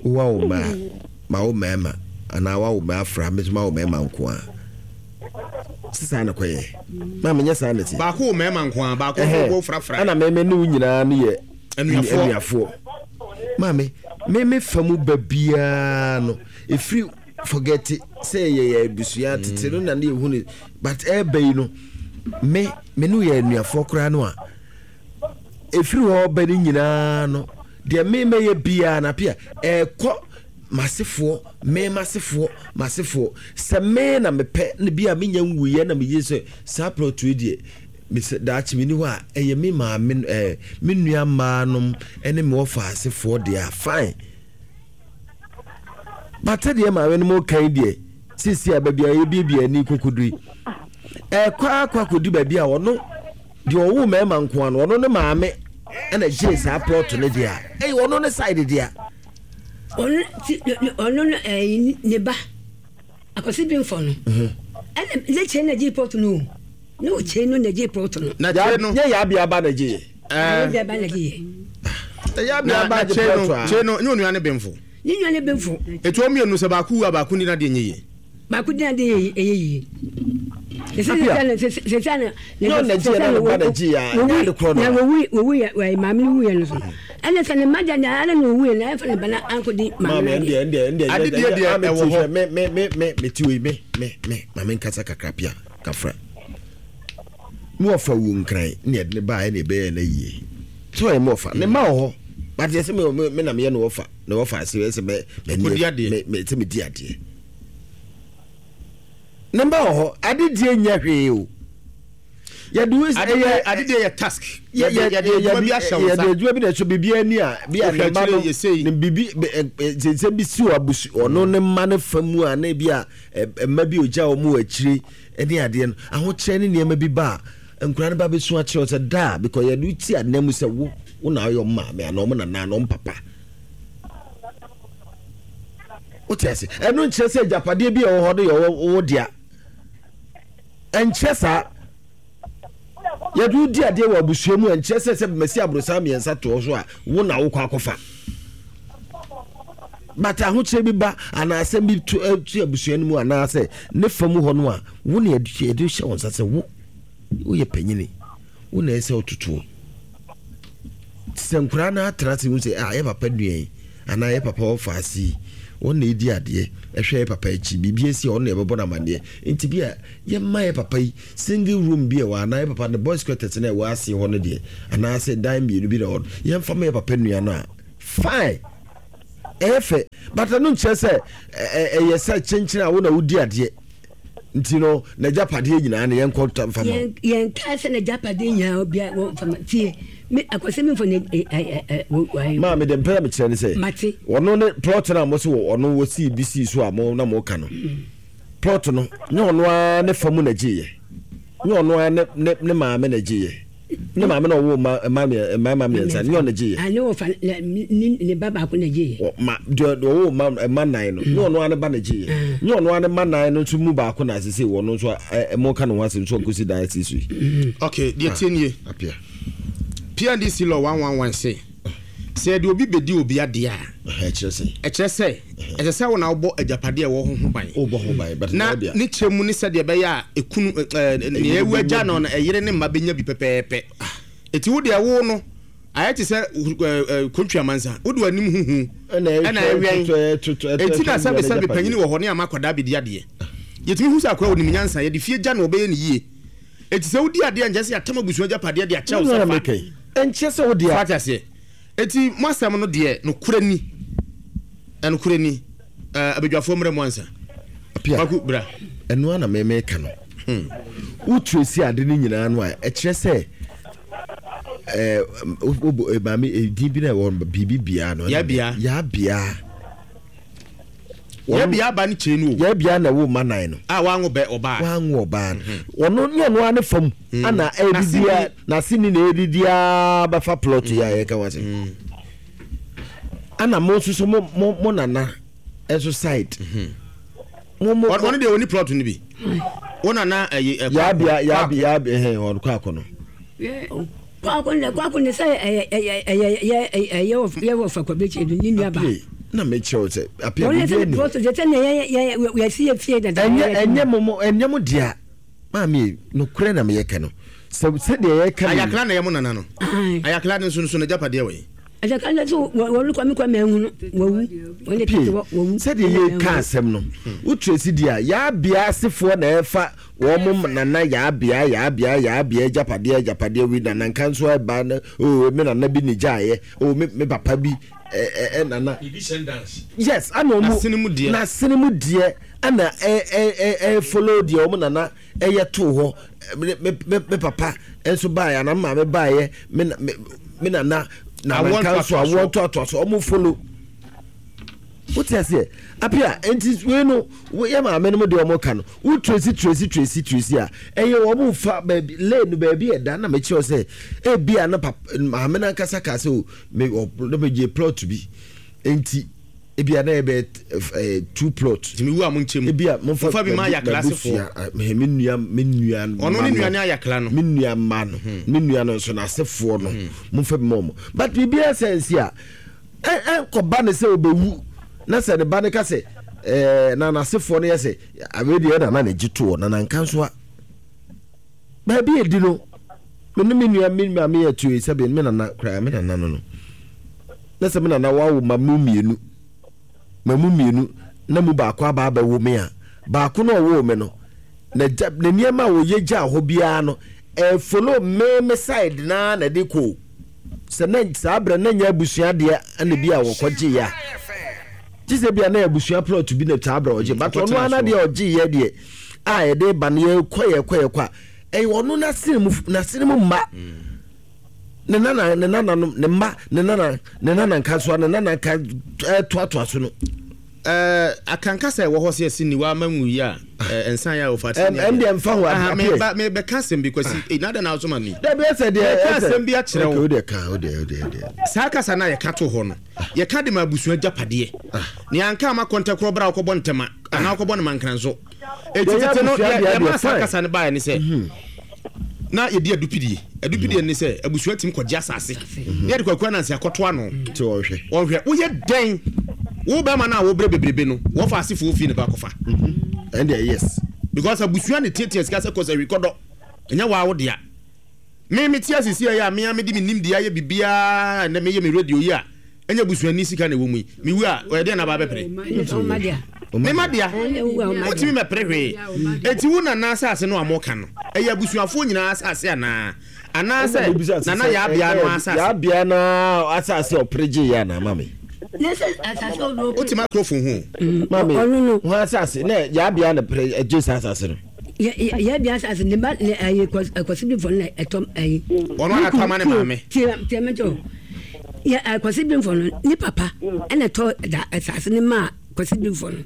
wa wo mmaa ma wo mmarima anaa wa wo mmaa afra mɛtuma ma wo mmarima nko a sisan na kɔyɛ maame nyɛ saa na ti. Baako wo mmarima nko a baako wo frafra. Ɛna mɛmɛ ne wo nyinaa no yɛ anuafoɔ anuafoɔ maame mɛmɛ fa mu ba biara no efiri. Forget it. Say yeah yeah abusua tete no na ne ehu ne but ɛɛba yi no me me no yɛ anuafoɔ koraa no a efiri hɔ ba ne nyinaa no deɛ me mɛyɛ biara na pia ɛɛkɔ masefoɔ me masefoɔ masefoɔ sɛ me na mepɛ ne bi a menya nwuyɛ na meyɛ sɛ saa plot yi deɛ mesɛ daakye me ni hɔ a ɛyɛ me maame ɛɛ me nua mmaa nom ɛne me wɔfa asefoɔ deɛ a fine. But deɛ maame no mo kan deɛ sisi a baabi a yɛbiebie ani kokoduri ɛkɔ akɔ akɔdi baabi a ɔno deɛ ɔwo mmarima nko ano ɔno ne maame ɛna gye saa plot no deɛ a ɛyɛ ɔno ne side deɛ ɔno ti ɔno no ɛyi ne ba akɔsi bi nfɔ no ɛna ne kyɛn na gye plot no ne o kyɛn no na gye plot no na kyɛn no nyɛ yɛ abia ba na gye yɛ abia ba na gye yɛ yɛ abia ba gye plot a kyɛn no nyɛ onua ne bɛnfo. Ne nua ne bɛnfo. Etu wɔn mmienu sɛ baako wu a baako ni n'adeɛ nyɛ yie. Baako di n'adeɛ yɛ ɛyɛ yie. Na wowu wowu yɛ wɔ maame no wu yɛ no so. Ɛna sɛ ne mma gya na ɛna na owu yɛ na ɛfɛ ne ba na anko di maame no adeɛ. Ɛndeɛ ɛndeɛ adeɛ deɛ ɛwɔ hɔ. Me me me me me ti wei me me me maame nkasa kakra pia kafra. Me wɔfa wu nkran ne yɛde ne baa ɛna ɛbɛyɛ na yie. So ɔyɛ me wɔfa ne mma wɔ hɔ. But yɛ sɛ me me na meyɛ no wɔfa. Na wɔfa ase sɛ mɛ mɛ mɛ mɛ sɛ mɛ di adeɛ. Ne mba wɔ hɔ adedie nyɛ hwee o. Yɛde wo ɛyɛ adedie yɛ task. Yɛde yɛde adwuma bi ahyɛ wo nsa. Yɛde adwuma bi na ɛso biribi ani a bi a ne mma no ne biribi nsɛnsɛm bi si wɔ abusu ɔno ne mma ne fa mu a na bi a mma bi ogya wɔn wɔ akyire ne adeɛ no ahokyerɛ ne nneɛma bi ba a nkura no ba bɛsu akyerɛ sɛ daa because yɛde wo ti anan mu sɛ wo wo na ɔyɛ ɔmo maame anaa ɔmo nana anaa ɔmo papa. Wote ase ɛno nkyerɛ sɛ agyapadeɛ bi a ɛwɔ hɔ no yɛ wo dea ɛnkyerɛ saa yɛde wo di adeɛ wɔ abusua mu ɛnkyerɛ sɛ sɛ masi aborosan mmiɛnsa toɔ so a wo na wokɔ akɔfa but ahokyerɛ bi ba anaasɛ bi to to abusua no mu anaasɛ ne fa mu hɔ no a wo na yɛde hyɛ wo nsa sɛ wo woyɛ panyini wo na ɛsɛ wototoɔ sɛ nkoraa no atena ase hu sɛ ah yɛ papa nua yi anaa yɛ papa wɔfa ase yi Wɔn na edi adeɛ ɛhwɛ yɛ papa akyi biribi esi a ɔno na yɛbɛbɔ no amaneɛ nti bi a yɛmma yɛ papa yi single room bi a ɛwɔ anaa yɛ papa ne boys quarters na ɛwɔ ase hɔ no deɛ anaasɛ dan mmienu bi na ɛwɔ no yɛmfa ma yɛ papa nua no a fine ɛyɛ fɛ but ɛno nkyerɛ sɛ ɛyɛ sɛ kyenkyen a wo na wodi adeɛ nti no n'agyapadeɛ nyinaa no yɛnkɔ mfa ma yɛn kaa sɛ n'agyapadeɛ nyinaa obia wɔmfa ma tie me akɔsɛ mi nfɔ ne ɛ ɛ maa mi de mpɛ na mi kyerɛ ne sɛ mate ɔno ne plot na mo so wɔ ɔno wɔ sii bi sii so a mo na mo ka no plot no nye ɔno ara ne fa mu na gye yɛ nye ɔno ara ne ne ne maame na gye yɛ ne maame na ɔwɔ ma mma mmarima mmiɛnsa ne ɔno gye yɛ ne wɔfa ne ne ba baako na gye yɛ ma deɛ ɔwɔ ma mma nan no nye ɔno ara ne ba na gye yɛ nye ɔno ara ne mma nan no nso mu baako na asese wɔ no nso ɛ mo ka ne ho asɛm nso ɔnkosi dan asi so yi. Okay, deɛ tie nie. Apia. P N D C law one one one say sɛ yɛde obi bɛdi obi adeɛ a ɛkyerɛ sɛ ɛkyerɛ sɛ ɛsɛ sɛ wo na wobɔ agyapadeɛ ɛwɔ ho ho ban wobɔ ho ban but na ne kyerɛ mu ne sɛdeɛ ɛbɛyɛ a ɛkunu nea ɛwu agya no ɛyere ne mma bɛnya bi pɛpɛɛpɛ ɛti wo deɛ wo no ayɛ te sɛ kontwi amansa wode w'anim huhu ɛna ɛwɛn ɛti na sɛbe sɛbe panyini wɔ hɔ ne ama akwadaa bɛdi adeɛ yɛtumi hu sɛ akwadaa onim nyansa yɛde fie gya na ɔbɛyɛ ne yie ɛti sɛ wodi adeɛ nkyɛ sɛ yɛatam abusua agyapadeɛ de akyɛ wo sɛ fa ɛnkyɛ sɛ wode a aseɛ eti mo asɛm no deɛ nokorɛ ni ɛnokorɛ ni abadwafoɔ mmerɛ mu ansa Kwaku bra ɛno ana mɛmɛka no wotu esi ade no nyinaa no a ɛkyerɛ sɛ ɛɛ maame edin bi na ɛwɔ biribi bia no yabia yabia yabia ba ne kyerɛ no o yabia na ɛwɔ ma nan no a wango bɛ ɔbaa wango ɔbaa no ɔno ne ɔno ane fam ana ɛdidi a n'aseni na ɛdidi a bɛfa plot yi a yɛka wa sɛ ana mo nso so mo mo mo nana ɛso side mo mo ɔno deɛ ɔni plot no bi wo nana ɛyi ɛkɔ yabia yabia yabia ɛhɛn ɔno kɔ akɔ no kwako ne kwako ne sɛ ɛyɛ ɛyɛ ɛyɛ ɛyɛ yɛ wɔ fa kwabekye ne nua ba na me kyerɛ sɛ apia bi bi ni plot de sɛ ne yɛ yɛ yɛ si yɛ fie dada ɛnyɛ ɛnyɛ mo mo ɛnyɛ mo dea maame no kure na me yɛ ka no sɛ sɛ deɛ yɛ ka ayakla na yɛ mo nana no ayakla ne nso nso na japadeɛ wɔ yi ayakla ne so wɔn kwame kwame ehunu wɔwu wɔn de tete wɔwu sɛ deɛ yɛ ka asɛm no wotu esi deɛ yabea asefoɔ na ɛfa wɔn mo nana yabea yabea yabea japadeɛ japadeɛ wi nana nka nso ɛba na o me nana bi ne gyaeɛ o me me papa bi ɛ ɛ nana yes ana ɔmo na sene mu deɛ ana ɛ ɛ ɛ ɛ follow deɛ ɔmo nana ɛyɛ to hɔ me me me papa nso baeɛ ana maame baeɛ me me me nana nana nka nso awoɔ ntoatoa so ɔmo follow wote aseɛ apia nti wei no yɛ maame no mu deɛ ɔmo ka no wo tracy tracy tracy tracy a ɛyɛ ɔmo fa baabi lane no baabi ɛda na mekyerɛw sɛ ebi a na papa maame no ankasa ka sɛ o me ɔ na megye plot bi nti ebi a na yɛ bɛ ɛɛ two plot tìmi wu a mo nkyɛn mu ebi a mo fa bi ma ayakla asefoɔ me nua me nua ɔno ne nua ne ayakla no me nua mma no me nua no nso n'asefoɔ no mo fa bi ma ɔmo but biribi asɛ nsi a ɛ ɛ nkɔba ne sɛ ɔbɛwu na sɛ ne ba ne ka sɛ ɛɛ na n'asefoɔ no yɛ sɛ abe deɛ na na ne gye toɔ na na nka nso a baabi edi no me ne me nua me maame yɛ tuo yi sɛbi me nana koraa me nana no no na sɛ me nana wawo ma mu mmienu ma mu mmienu na mu baako aba abɛwo me a baako na ɔwɔ me no na gya na nneɛma a wɔyɛ gya hɔ biara no ɛfolo me me side naa na ɛde kɔ sɛ na saa abirɛ na nyɛ abusua deɛ ɛna bi a wɔkɔ gye ya gye sɛ bi a na abusua plot bi na saa abirɛ ɔgye but ɔno ara deɛ ɔgye yɛ deɛ a yɛde ba no yɛkɔ yɛkɔ yɛkɔ a ɛyɛ ɔno n'asene mu n'asene mu mma ne nana ne nananom ne mma ne nana ne nana nka so a ne nana nka ɛtoatoa so no. Ɛɛ akanka sɛ ɛwɔ hɔ sɛ ɛsi niwa ama nwu yi a nsan yɛ a ofa ti ni ɛm deɛ nfa ho adeɛ meba mebɛka asɛm bi kwasi ee nada na asoma mi dabi ɛsɛ deɛ meka asɛm bi akyerɛ wo o deɛ ka o deɛ o deɛ o deɛ saa kasa na yɛka to hɔ no yɛka de ma abusua gyapadeɛ ne anka ama kɔntɛkorɔ bra wokɔbɔ ntɛma anaa wokɔbɔ ne mankran so eti tete no yɛma saa kasa no baeɛ ne sɛ na yɛdi adupidie adupidie ne sɛ abusua tim kɔgye asase ne yɛde kwaku anansi akɔto ano nti wɔnhwɛ wɔnhwɛ woyɛ dɛn wo bɛrima no a wobrɛ bebrebe no wɔfa asefoɔ fie ne ba akɔfa ɛndeɛ yes because abusua ne tietie sika sɛ kɔsɛ wikɔdɔ ɛnyɛ waa wo dea me me tie asisi ɛyɛ a me a mede me nim deɛ ayɛ biribiara ɛnɛ meyɛ me radio yi a Ɛnyɛ busuani sika na ɛwɔ mu yi. Mewu a, ɔyɛ deɛ na aba abɛpere. Me ma dea. Wotumi mɛpere hwee. Eti wo nana asase no a moka no, ɛyɛ abusuafoɔ nyinaa asase anaa? Anaasɛ nana Yaabea no asase? Yaabea no asase a ɔpere gye yɛ anaa mame? Wote microphone ho? Mame, ho asase na Yaabea na pere gye saa asase no. Yaabea asase ne ba ne ayi kwasibifo no na ɛtɔm ayi. Ɔno ara tɔ ama ne maame. Tie tie me to. Yɛ kwasibifo no ne papa ɛna ɛtɔ da asase ne maa kwasibifo no.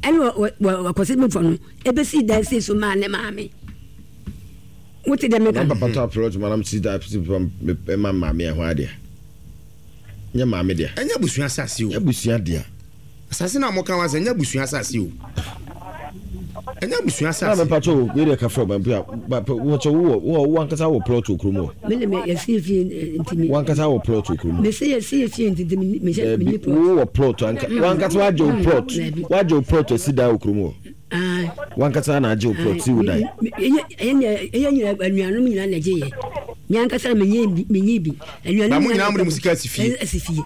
Ɛna wɔ wɔ kwasibifo no ebesi dan si so maa ne maame. Wote dɛ meka. Na papa tɔ aprɔt ma nam si da si ma maame ɛho adeɛ. Nyɛ maame dea. Ɛnyɛ abusua asase o. Nyɛ abusua dea. Asase na mo ka wa sɛ nyɛ abusua asase o. Ɛnyɛ abusua asase. Na mepa kyɛw wei deɛ ka frɛ ɔba mpo a wɔkyɛ wo wɔ wo ankasa wɔ plot wɔ kurom hɔ. Me de me yɛsi efie nti mi. Wo ankasa wɔ plot wɔ kurom hɔ. Me se yɛsi efie nti nti mi hyɛ mi ni plot. Wo wɔ plot anka wo ankasa wagye wo plot wagye wo plot asi dan wɔ kurom hɔ. Wo ankasa na agye wo plot si wo dan. Ɛyɛ ɛyɛ nyina anuanom nyina na ɛgye yɛ. Me ankasa me nye bi me nye bi. Anuanom nyina na mo de mo sika asi fie. Asi fie.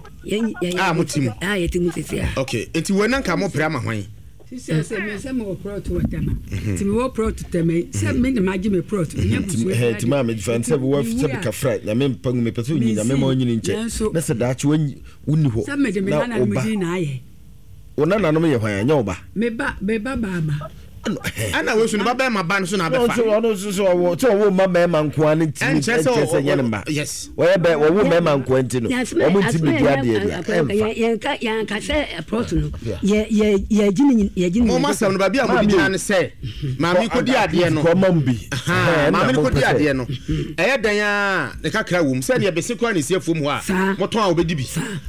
A mo ti mu. A yɛ ti mu sisi a. Okay, nti wɔn nanka mo pere ama hwan? Sisi sɛ me sɛ mewɔ prɔt wɔ Tɛma nti mewɔ prɔt Tɛma yi sɛ me na magye me prɔt nyɛ busua bi ade nti maa me fa sɛ wɔ sɛ bika fra nyame mpa ngu mepɛ sɛ onyi nyame ma onyini nkyɛ na sɛ daakye wonni hɔ sɛ mede me nananom din na ayɛ. Wo nananom yɛ hwan? Ɛnyɛ wo ba? Me ba, me ba baama. Ɛna wei so ne ba bɛrima ba no so na abɛfa. Ɔno nso so ɔwɔ sɛ ɔwɔ mma mmarima nko ara ne ntumi ɛnkyerɛ sɛ ɛnyɛ ne mma. Yes. Wɔyɛ bɛ wɔwo mmarima nko ara nti no wɔn ntumi di adeɛ deɛ ɛnfa. Yɛnka yɛnka sɛ plot no yɛ yɛ yɛgye ne yɛgye ne. Mo ma sɛm no baabi a mo de gyina ne sɛ maame kodi adeɛ no. Kɔma mu bi. Maame no kodi adeɛ no ɛyɛ dɛn a ne kakra wom sɛ deɛ bese koraa na esi afuom hɔ a motɔn a wɔbɛdi bi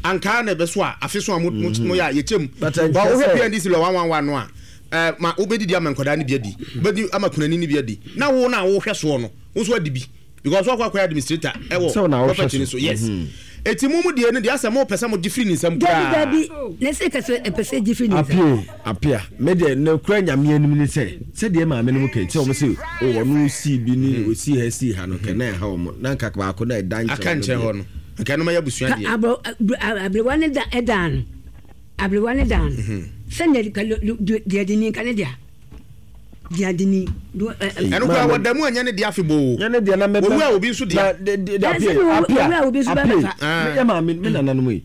ankaa na ɛbɛso a afe so a mo mo yɛ a yɛkyɛ mu ba wohwɛ P N D C lɔ one one one no a ɛɛ ma wobɛdidi ama nkwadaa no bi adi wobɛdi ama kunani no bi adi na wo na wohwɛ soɔ no wo nso adi bi because wakɔ akɔyɛ administrator ɛwɔ property no so yes eti mo mu deɛ no deɛ asɛ mo pɛ sɛ mo gye firi ne nsam koraa. Dabi dabi na sɛ kɛsɛ ɛpɛ sɛ gye firi ne nsam. Apio apia me deɛ ne kura nyame anim ne sɛ sɛdeɛ maame no mu kɛ sɛ wɔn sɛ o ɔno sii bi ne osii ha sii ha no kɛ na ɛha wɔn na nka baako na ɛda nkyɛn aka nkyɛn hɔ no nka ɛno ma yɛ abusua deɛ. Abro abrewa ne da ɛdan no abrewa ne dan no sɛnea deɛ de ni nka ne dea. Ɛno koraa wɔda mu anyɛ ne dea afebɔɔ. Nyɛ ne dea na mɛbɛ. Owu a obi nso dea. Na de apia apia apia. Meyɛ maame me nananom yi.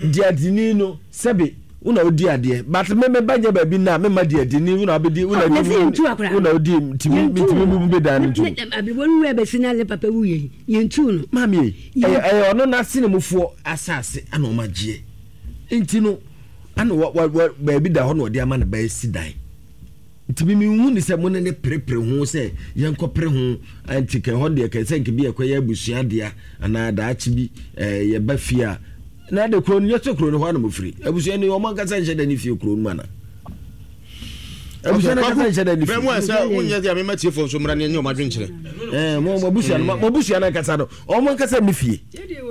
Deadini no sɛbe wo na wodi adeɛ but me me ba nyɛ baabi na me ma deadini wo na abɛdi wo na di wo na wodi ntumi ntumi bu bɛ dan no ntum. Aberewa no wura bɛsi na ne papa wu yɛ yɛn tu no. Maame yi ɛyɛ ɛyɛ ɔno n'asene mufoɔ asase ana ɔma gyeɛ nti no ana wa wa baabi da hɔ na ɔde ama ne ba esi dan. Nti me menhu ne sɛ mo ne ne perepere ho sɛ yɛnkɔ pere ho nti kɛ hɔ deɛ kɛ sɛ nka bi ɛkɔyɛ abusua dea anaa daakye bi ɛɛ yɛba fie a na de kuro no nyɛ sɛ kuro no hɔ ana mofiri abusua no wɔn ankasa nhyɛ da ne fie kuro no mu ana abusua no ankasa nhyɛ da ne fie. Bɛn mu a sɛ wonyɛ deɛ mema tiefoɔ nso mmra ne ɛnyɛ wɔn adwenkyerɛ. Ɛɛ mo mo abusua no mo abusua no ankasa no wɔn ankasa ne fie.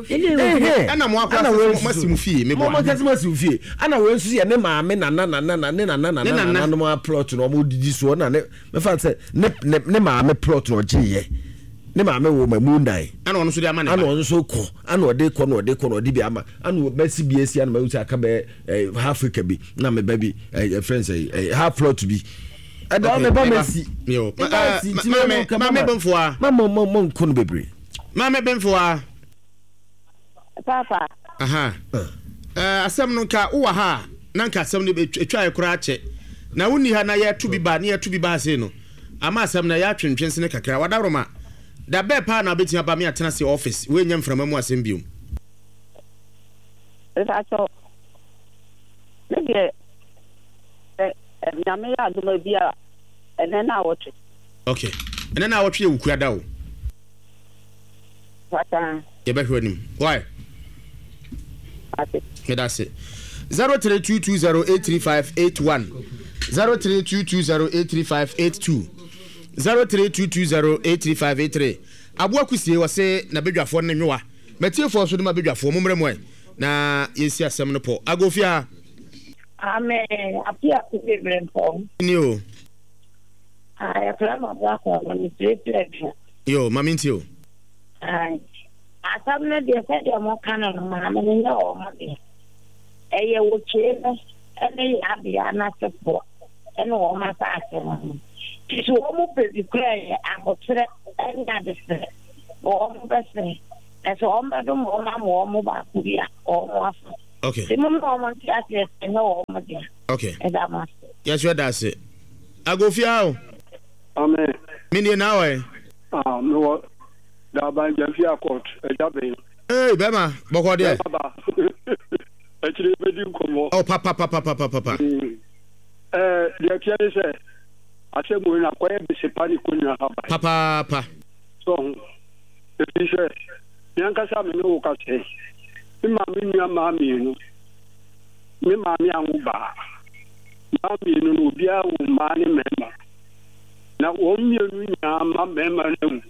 Ɛna mo akora sɛ mo asi mo fie meboa. Mo ankasa mo asi mo fie. Ɛna wei nso yɛ ne maame nana nana nana ne nana nana nana nom plot na wɔn didi soɔ na ne mɛfa sɛ ne ne ne maame plot na ɔgye yɛ ne maame wɔ ma mu nnan. Ɛna ɔno nso de ama ne ba. Ɛna ɔno nso kɔ ɛna ɔde kɔ na ɔde kɔ na ɔde bi ama ɛna ɔbɛsi bi esi ɛna mɛwu sɛ aka bɛyɛ ɛɛ half acre bi na mɛ ba bi ɛɛ ɛfrɛ nsɛ ɛɛ half plot bi. Ɛda ɔmɛ ba mɛ si. Maame maame bɛnfoa. Ma mo mo mo nko no bebree. Maame bɛnfoa. Papa. Aha. Uh, asɛm no nka wowɔ ha a na nka asɛm no ɛtwaeɛ koraa kyɛ na wonni ha na yɛto bi ba ne yɛto bi ba ase no ama asɛm no ɛyɛ atwentwen sene kakra wadaworoma da bɛɛ paa na wobɛtumi aba me atena se office woɛnya mframa mu asɛm biom. Mepakyɛw, me deɛ sɛ Nyame yɛ adom a bi a ɛnɛ na awɔtwe. Okay, ɛnɛ na awɔtwe yɛ wukua da o. Pata. Yɛbɛhwɛ anim. Why? Ate. Meda se. zero three two two zero eight three five eight one zero three two two zero eight three five eight two zero three two two zero eight three five eight three. Aboa kusie wɔse na bedwafoɔ ne nwowa. Matiefoɔ nso de ma bedwafoɔ mo mmerɛ mu ɛ na yɛnsi asɛm no pɔ. Agofia. Amen. Apia kusie brempɔn. Ni o. Ah, yɛfrɛ ma aboa kɔ no mesrɛ firi adua. Yo, ma mentie o. Ai. Asɛm no deɛ sɛdeɛ moka no no maame no nyɛ wɔn deɛ. Ɛyɛ wɔkyee no ne yɛabea no asefoɔ ne wɔn asase no ho. Nti sɛ wɔn pɛ bi koraa yɛ ahokyerɛ ne adesrɛ na wɔn bɛsrɛ. Na sɛ wɔn bɛdom wɔn ama wɔn baako bi a wɔn afa. Okay. Nti momma wɔn nte aseɛ sɛ ɛnyɛ wɔn dea. Okay. Ɛda mo ase. Yɛso ɛda ase. Agofia o. Amen. Menie na awɔ ɛ. Ah, mewɔ Daban Gyamfia court, ɛgya bɛn. Ee, bɛma, bɔkɔ deɛ. Bɛma ba. Akyire bɛdi nkɔmmɔ. Oh, papa, papa, papa, papa. Mm. Eh, deɛ teɛ ne sɛ, asɛm wei no akɔyɛ besepa ne kɔnua haban. Papaapa. So ho. Ɛfiri sɛ, me ankasa me ne wo kasa yi, me maame nua mmaa mmienu, me maame anwo baa. Mmaa mmienu no, obiara wo mmaa ne mmarima. Na wɔn mmienu nyinaa mma mmarima no awu.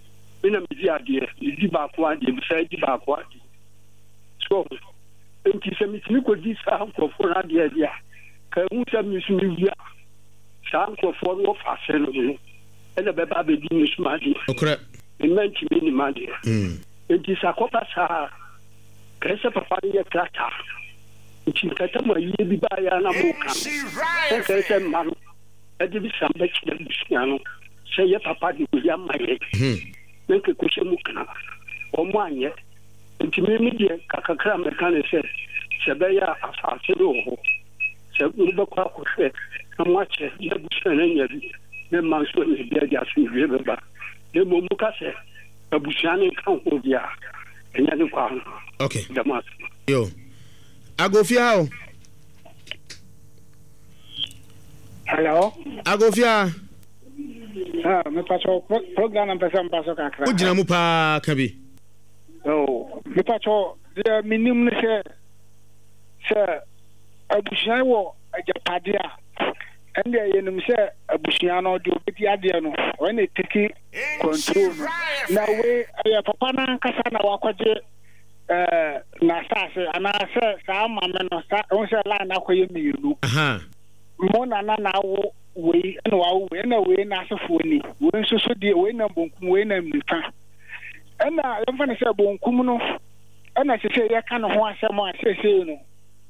Me na medi adeɛ, medi baako adeɛ, mesan di baako adeɛ. So ho. Nti sɛ metumi kɔdi saa nkurɔfoɔ no adeɛ deɛ a, ka ehu sɛ me nso mewu a, saa nkurɔfoɔ no wɔfa ase no no ɛna bɛba abɛdi me so m'adeɛ. Nokorɛ. Me mma ntumi nni m'adeɛ. Nti sɛ akɔba saa a, kae sɛ papa no yɛ krataa. Nti nkata mu ayie bi baeɛ a na moka no, sɛ nkae sɛ mma no ɛde bi san bɛkyerɛ abusua no sɛ yɛ papa de wei ama yɛn. Na nka ɛkɔhyɛ mu kena. Wɔn anyɛ. Nti me me deɛ kakakra a mɛka ne sɛ, sɛ ɛbɛyɛ a asase no wɔ hɔ, sɛ mobɛkɔ akɔhwɛ na moakyɛ na abusua no anya bi, na mma nso anya bi ade asomdwoeɛ bɛba. Na mmom moka sɛ abusua no nka ho deɛ a, ɛnyɛ ne kwan no. Okay. Dɛm ase. Yo. Agofia o. Hello. Agofia. Ah, me pacho program na mpɛsɛ mpa so kakra. Wogyina mu paa ka bi. Oh, me pacho deɛ menim ne sɛ sɛ abusua wɔ agyapade a ɛndeɛ yɛnim sɛ abusua no deɛ obɛdi adeɛ no ɔyɛ na ɛtiki control no na wei ɛyɛ papa no ankasa na wakɔgye ɛɛ n'asase anaasɛ saa maame no saa ɛho sɛ line akɔyɛ mmienu. Mo nana na awo wei ɛna wawo wei ɛna wei n'asefoɔ ni wei nso so deɛ wei nam bonkum wei nam nifa ɛna yɛmfa no sɛ bonkum no ɛna sese yɛka ne ho asɛm a seesei no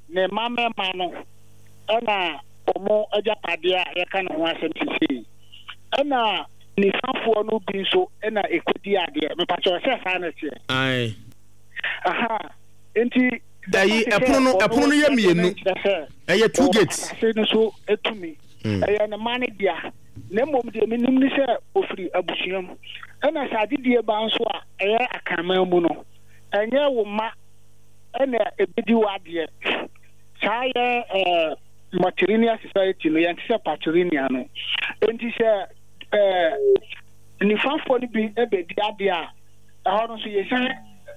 ne mma mmarima no ɛna wɔn agyapadeɛ a yɛka ne ho asɛm seesei ɛna nifafoɔ no bi nso ɛna ɛkɔdi adeɛ mepakyɛ sɛ saa na ɛteɛ. Ae. Aha nti. Ɛyi ɛpono no ɛpono no yɛ mmienu ɛyɛ two gates. Asase no so etumi ɛyɛ ne mma ne dea na mmom deɛ menim ne sɛ ofiri abusua mu ɛna sɛ adedie ba nso a ɛyɛ akanman mu no ɛnyɛ wo mma ɛna ebedi w'adeɛ saa yɛ ɛɛ matrilineal society no yɛn te sɛ patrilineal no nti sɛ ɛɛ nifafoɔ no bi ɛbɛdi adeɛ a ɛhɔ no nso yɛsan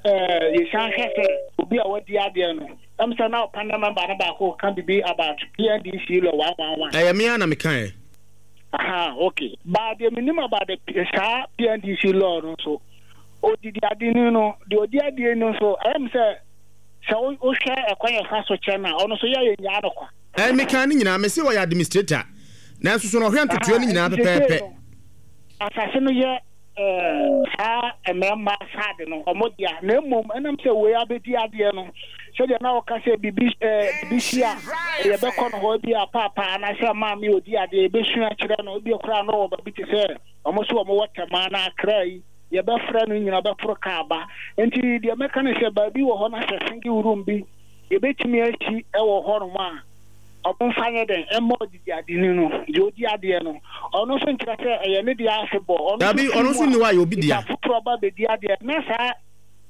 ɛɛ yɛsan hwɛ sɛ obi a wadi adeɛ no ɛm sɛ na ɔpa na member no baako ka bibi about P N D C law one one one. Ɛyɛ me ara na meka ɛ. Aha, okay. But deɛ menim about the saa P N D C law no nso odidi ade ni no deɛ odi adeɛ no nso ɛyɛ m sɛ sɛ wohwɛ ɛkwan yɛfa so kyɛ no a ɔno nso yɛ yɛ nyaa no kwa. Ɛ meka ne nyinaa mese ɔyɛ administrator nanso so na ɔhwɛ ntotoeɛ no nyinaa pɛpɛɛpɛ. Asase no yɛ saa mmarima saade no ɔmo dea na mmom ɛnam sɛ wei abɛdi adeɛ no sɛdeɛ na ɔka sɛ biribi ɛɛ biribi si a yɛbɛkɔ no hɔ bi a paapa anaasɛ maame odi adeɛ yɛbɛsua kyerɛ no ebi koraa no wɔ baabi te sɛ ɔmo so ɔmo wɔ Tɛmaa na Akra yi yɛbɛfrɛ no nyina bɛforo kaa ba nti deɛ mɛka ne sɛ baabi wɔ hɔ na sɛ single room bi yɛbɛtumi asi ɛwɔ hɔnom a ɔmo nfa nyɛ dɛn ɛmma ɔdidi adeni no deɛ odi adeɛ no ɔno nso nkyerɛ sɛ ɛyɛ ne deɛ ase bɔ ɔno dabi ɔno nso ni hɔ a yɛ obi dea nipa foforɔ ba bɛdi adeɛ na saa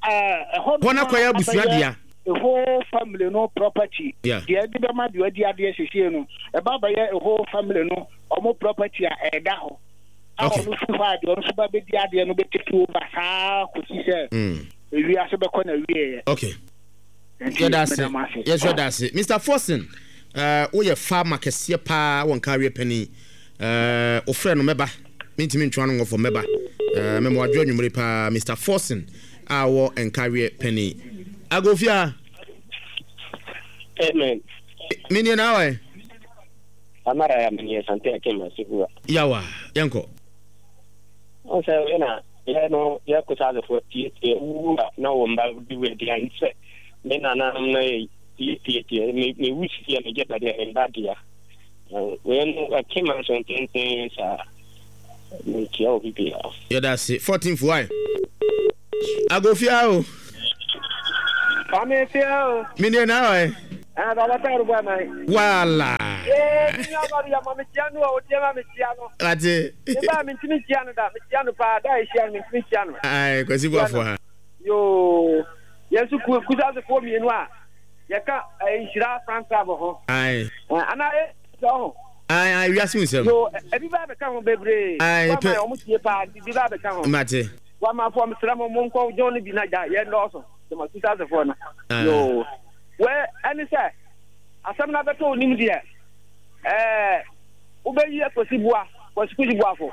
ɛɛ ɛhɔ hɔ no akɔyɛ abusua dea. A whole family no property Yeah. deɛ ɛde bɛma deɛ ɔdi adeɛ siesie no ɛba bɛyɛ a whole family no ɔmo property a ɛda hɔ a Okay. ɔno firi hɔ a deɛ ɔno nso ba bɛdi adeɛ no bɛ take over saa kɔsi sɛ Mm. ewiase bɛkɔ na wieɛ. Okay. Nti yɛda ase. meda mo ase. Yɛsɔ da ase, Mister Forson. uh, woyɛ farmer kɛseɛ paa wɔ nkareɛ panin. uh, wofrɛ no mɛba mentumi ntwa no ngɔfɔ mɛba. uh, mɛma wadwo anwummere paa, Mister Forson a wɔ nkareɛ panin Agofia. Amen. Menie na awɛ. Amara ya menie sante akem asihua. Yawa, yɛnkɔ. On sɛ wei na Yɛ no yɛ Kusasefoɔ tietie wu a na wɔn mba di wɔ aduane sɛ me nananom no yɛ tietietie me me wu sisi a megye ba deɛ me mba dea. Wei no ɛke ma nso ntenten saa mekyia obi biara. Yɛda ase fourteenth why agofia o. Kwame fia o. Mi nie na ɔyɛ. Ɛn baba ta rubu ama yi. Wala. Ee mi nua ba bi ya ma mi tia no a o tie ma mi tia no. Ate. Mi ba mi ntumi tia no da mi tia no paa da ehyia no mi ntumi tia no. Ayi Kwasi Buafo ha. Yoo yɛn nso ku kusasefoɔ mmienu a yɛka nhyira fan club ho. Ayi. Ana e sɛ ɔho. Ayi ayi wiase nsɛm. Yoo ebi ba bɛka ho bebree. Ayi pɛ. Wama wɔn tie paa bi ba bɛka ho. Mate. Wama fɔ mesrɛ mo mo nkɔ jɔn no bi na gya yɛn dɔɔso. Dɛm kusasefoɔ no. Yoo wɛ ɛne sɛ asɛm no abɛtɔ onim deɛ ɛɛ wobɛyi Kwasi Bua Kwasi Kwasi Buafo.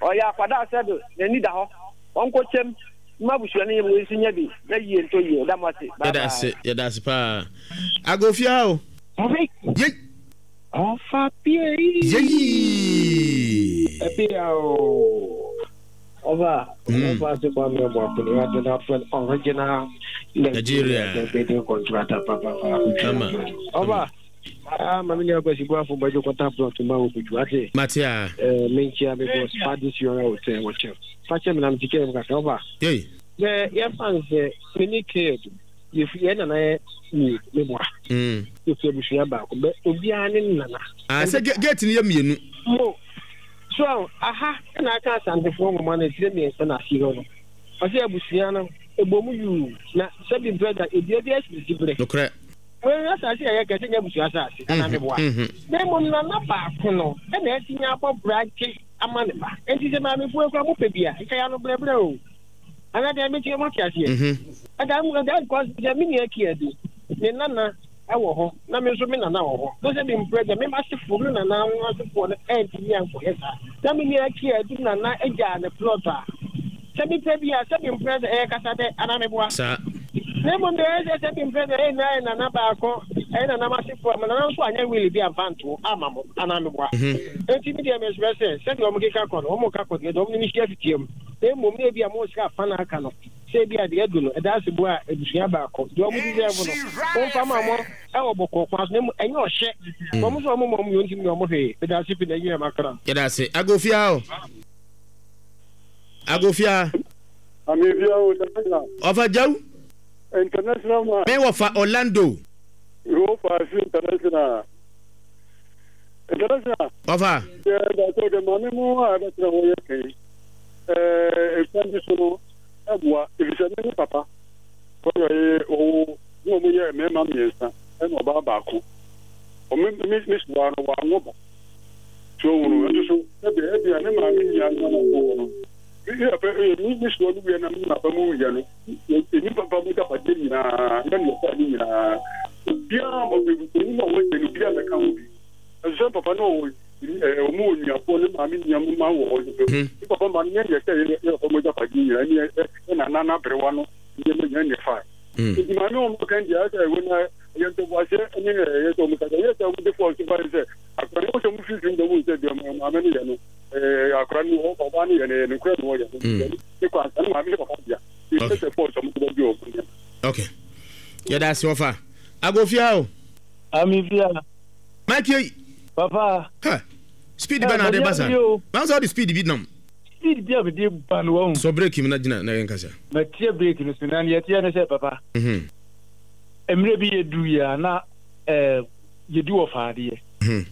Ɔyɛ akwadaa sɛ do n'ani da hɔ ɔnkɔ kyɛm mma abusua no yɛ mu nso nya bi na yie ntɔ yie da mo ase. Bye Yɛda ase yɛda ase paa. Agofia o. Yei. Ɔfa pie. Yei. Ebia o. Ɔba. Ɔfa ase kwa mi ɔbɔ akuni wa dena fɛn original Nigeria. Building contractor papa papa. Ama. Ɔba. Ah, mami ni Kwasi Buafo bɛjɔ kɔta plot ma wo kutu ate. Matia. Eh, menkyia me boss Padi Siora Hotel wɔ kyɛm. Fakyɛ me na mete kɛm kakra ɔba. Yei. Sɛ yɛfa no sɛ me ne Ked yɛfi yɛn nana yɛ mmienu me boa. Mm. Yɛfi abusua baako bɛ obiara ne nana. Ah, sɛ gate no yɛ mmienu. Mo. So aha na aka Asantefoɔ nwoma no etire mmiɛnsa na asi hɔ no. Ɔsɛ abusua no ebɔ mu yuu na sɛbi mpɛ da edua bi asisi bere. Nokorɛ. Wei asase a yɛka sɛ nyɛ abusua asase anaa meboa. Na mmom nana baako no ɛna atumi abɔ bragye ama ne ba. Enti sɛ maamefoɔ ekura mo pɛ bi a nka yɛ ano brɛbrɛ o. Ana deɛ mekyerɛ mo ate aseɛ. Ɛda ɛda because sɛ me nua kia bi ne nana ɛwɔ hɔ na me nso me nana wɔ hɔ. Na sɛ bi mpɛ gya me asefoɔ me nana asefoɔ no ɛntumi ankɔyɛ saa. Na me nua kia bi nana agya ne plot a sɛ bi pɛ bi a sɛ bi mpɛ sɛ ɛyɛ kasa dɛ anaa meboa. Saa. Na mmom deɛ ɛyɛ sɛ sɛ bi mpɛ sɛ ɛyɛ nyinaa yɛ nana baako ɛyɛ nana asefoɔ ma nana nso anyɛ wili bi amfa nto ama mo anaa meboa. Enti mi deɛ mesrɛ sɛ sɛdeɛ ɔmo keka kɔ no ɔmo ka kɔ deɛ ɔmo ne hyia fitia mu. Na mmom na ebi a mo sika afa na aka no sɛ ebi a deɛ adu no ɛda ase bo a abusua baako deɛ ɔmo deserve no wɔmfa ma mo ɛwɔ bɔkɔɔ kwan so na mmom ɛnyɛ ɔhyɛ wɔn nso ɔmo ma ɔmo yɛ ntumi ɔmo hwee ɛda ase fi na ɛnyɛ ɛma kra. Yɛda ase agofia o. Agofia. Amefia o international. Ɔfa Jaw. International man. Me wɔfa Orlando. Wɔfa fi international. International. Ɔfa. Yɛ dàtɔ de maame mu a ɛbɛtena hɔ yɛ kɛn. Ɛɛ ekwan bi so no ɛboa efisɛ me ne papa. Kɔyɔ yɛ ɔwɔ ne wɔn yɛ mmarima mmiɛnsa ɛna ɔbaa baako. Ɔmo mi mi soa no wɔanwo ba. So wɔn ɛnso so ɛbi ɛbi a ne maame nua no na ɔwɔ no. Mi mi soa no wia na mi papa mu wia no. Emi papa mu dapadeɛ nyinaa ɛna ne ɔfa ne nyinaa. Obiara ɔbɛn mu a wɔyɛ no obiara mɛka ho bi. Ɛsɛ papa no wɔ ɛɛ ɔmo wɔ nuafoɔ ne maame nua mu ma wɔ hɔ. Ne papa ma no nyɛ deɛ sɛ yɛ yɛ papa mu dapadeɛ nyinaa ne ɛna nana aberewa no nneɛma nyinaa ne fa. Nti maame wɔn kan deɛ ɛsɛ ɛwɔ na yɛ ntɔbuaseɛ ɛne ɛyɛ sɛ ɔmo kasa yɛ sɛ ɔmo de fɔɔ so ba sɛ akora ne wɔsɛ ɔmo fifiri mu sɛ deɛ maame no yɛ no ɛɛ akora no ɔbaa no yɛ no yɛ no kura no wɔyɛ no ne kwan ne maame ne papa bia yɛ sɛ fɔɔ so ɔmo de bɛ bi ɔmo nneɛma. Okay. Yɛda ase wɔfa. Agofia o. Amifia. Mike yi. Papa. Ha. Speed bɛ na ade ba sa. Maa sɛ ɔde speed bi nam. Speed bi a mede ba no wɔn. Sɔ break mu na gyina na yɛn kasa. Matie break no so na neɛ teɛ ne sɛ papa. Mhm. Mmerɛ bi yɛdu yɛ a na ɛɛ yɛdi wɔ faadeɛ. Mhm.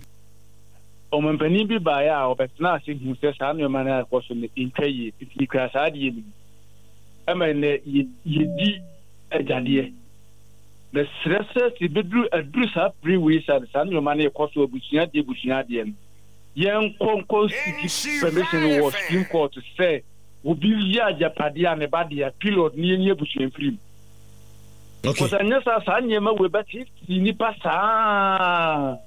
Ɔmampanin bi baeɛ a ɔbɛtena ase hu sɛ saa nneɛma no a ɛkɔ so no ntwa yie nti yɛkura saa adeɛ no mu. Ɛma nnɛ yɛdi agyadeɛ. Mesrɛ sɛ sɛ bɛduru aduru saa bere wei saa saa nneɛma no ɛkɔ so abusua adeɛ abusua adeɛ no yɛnkɔ nkɔ seek permission wɔ Supreme Court sɛ obi yɛ agyapadeɛ a ne ba deɛ period ne yɛnyi abusua mfiri mu. Okay. Kɔsɛ nyɛ saa saa nneɛma wei bɛtete nnipa saa.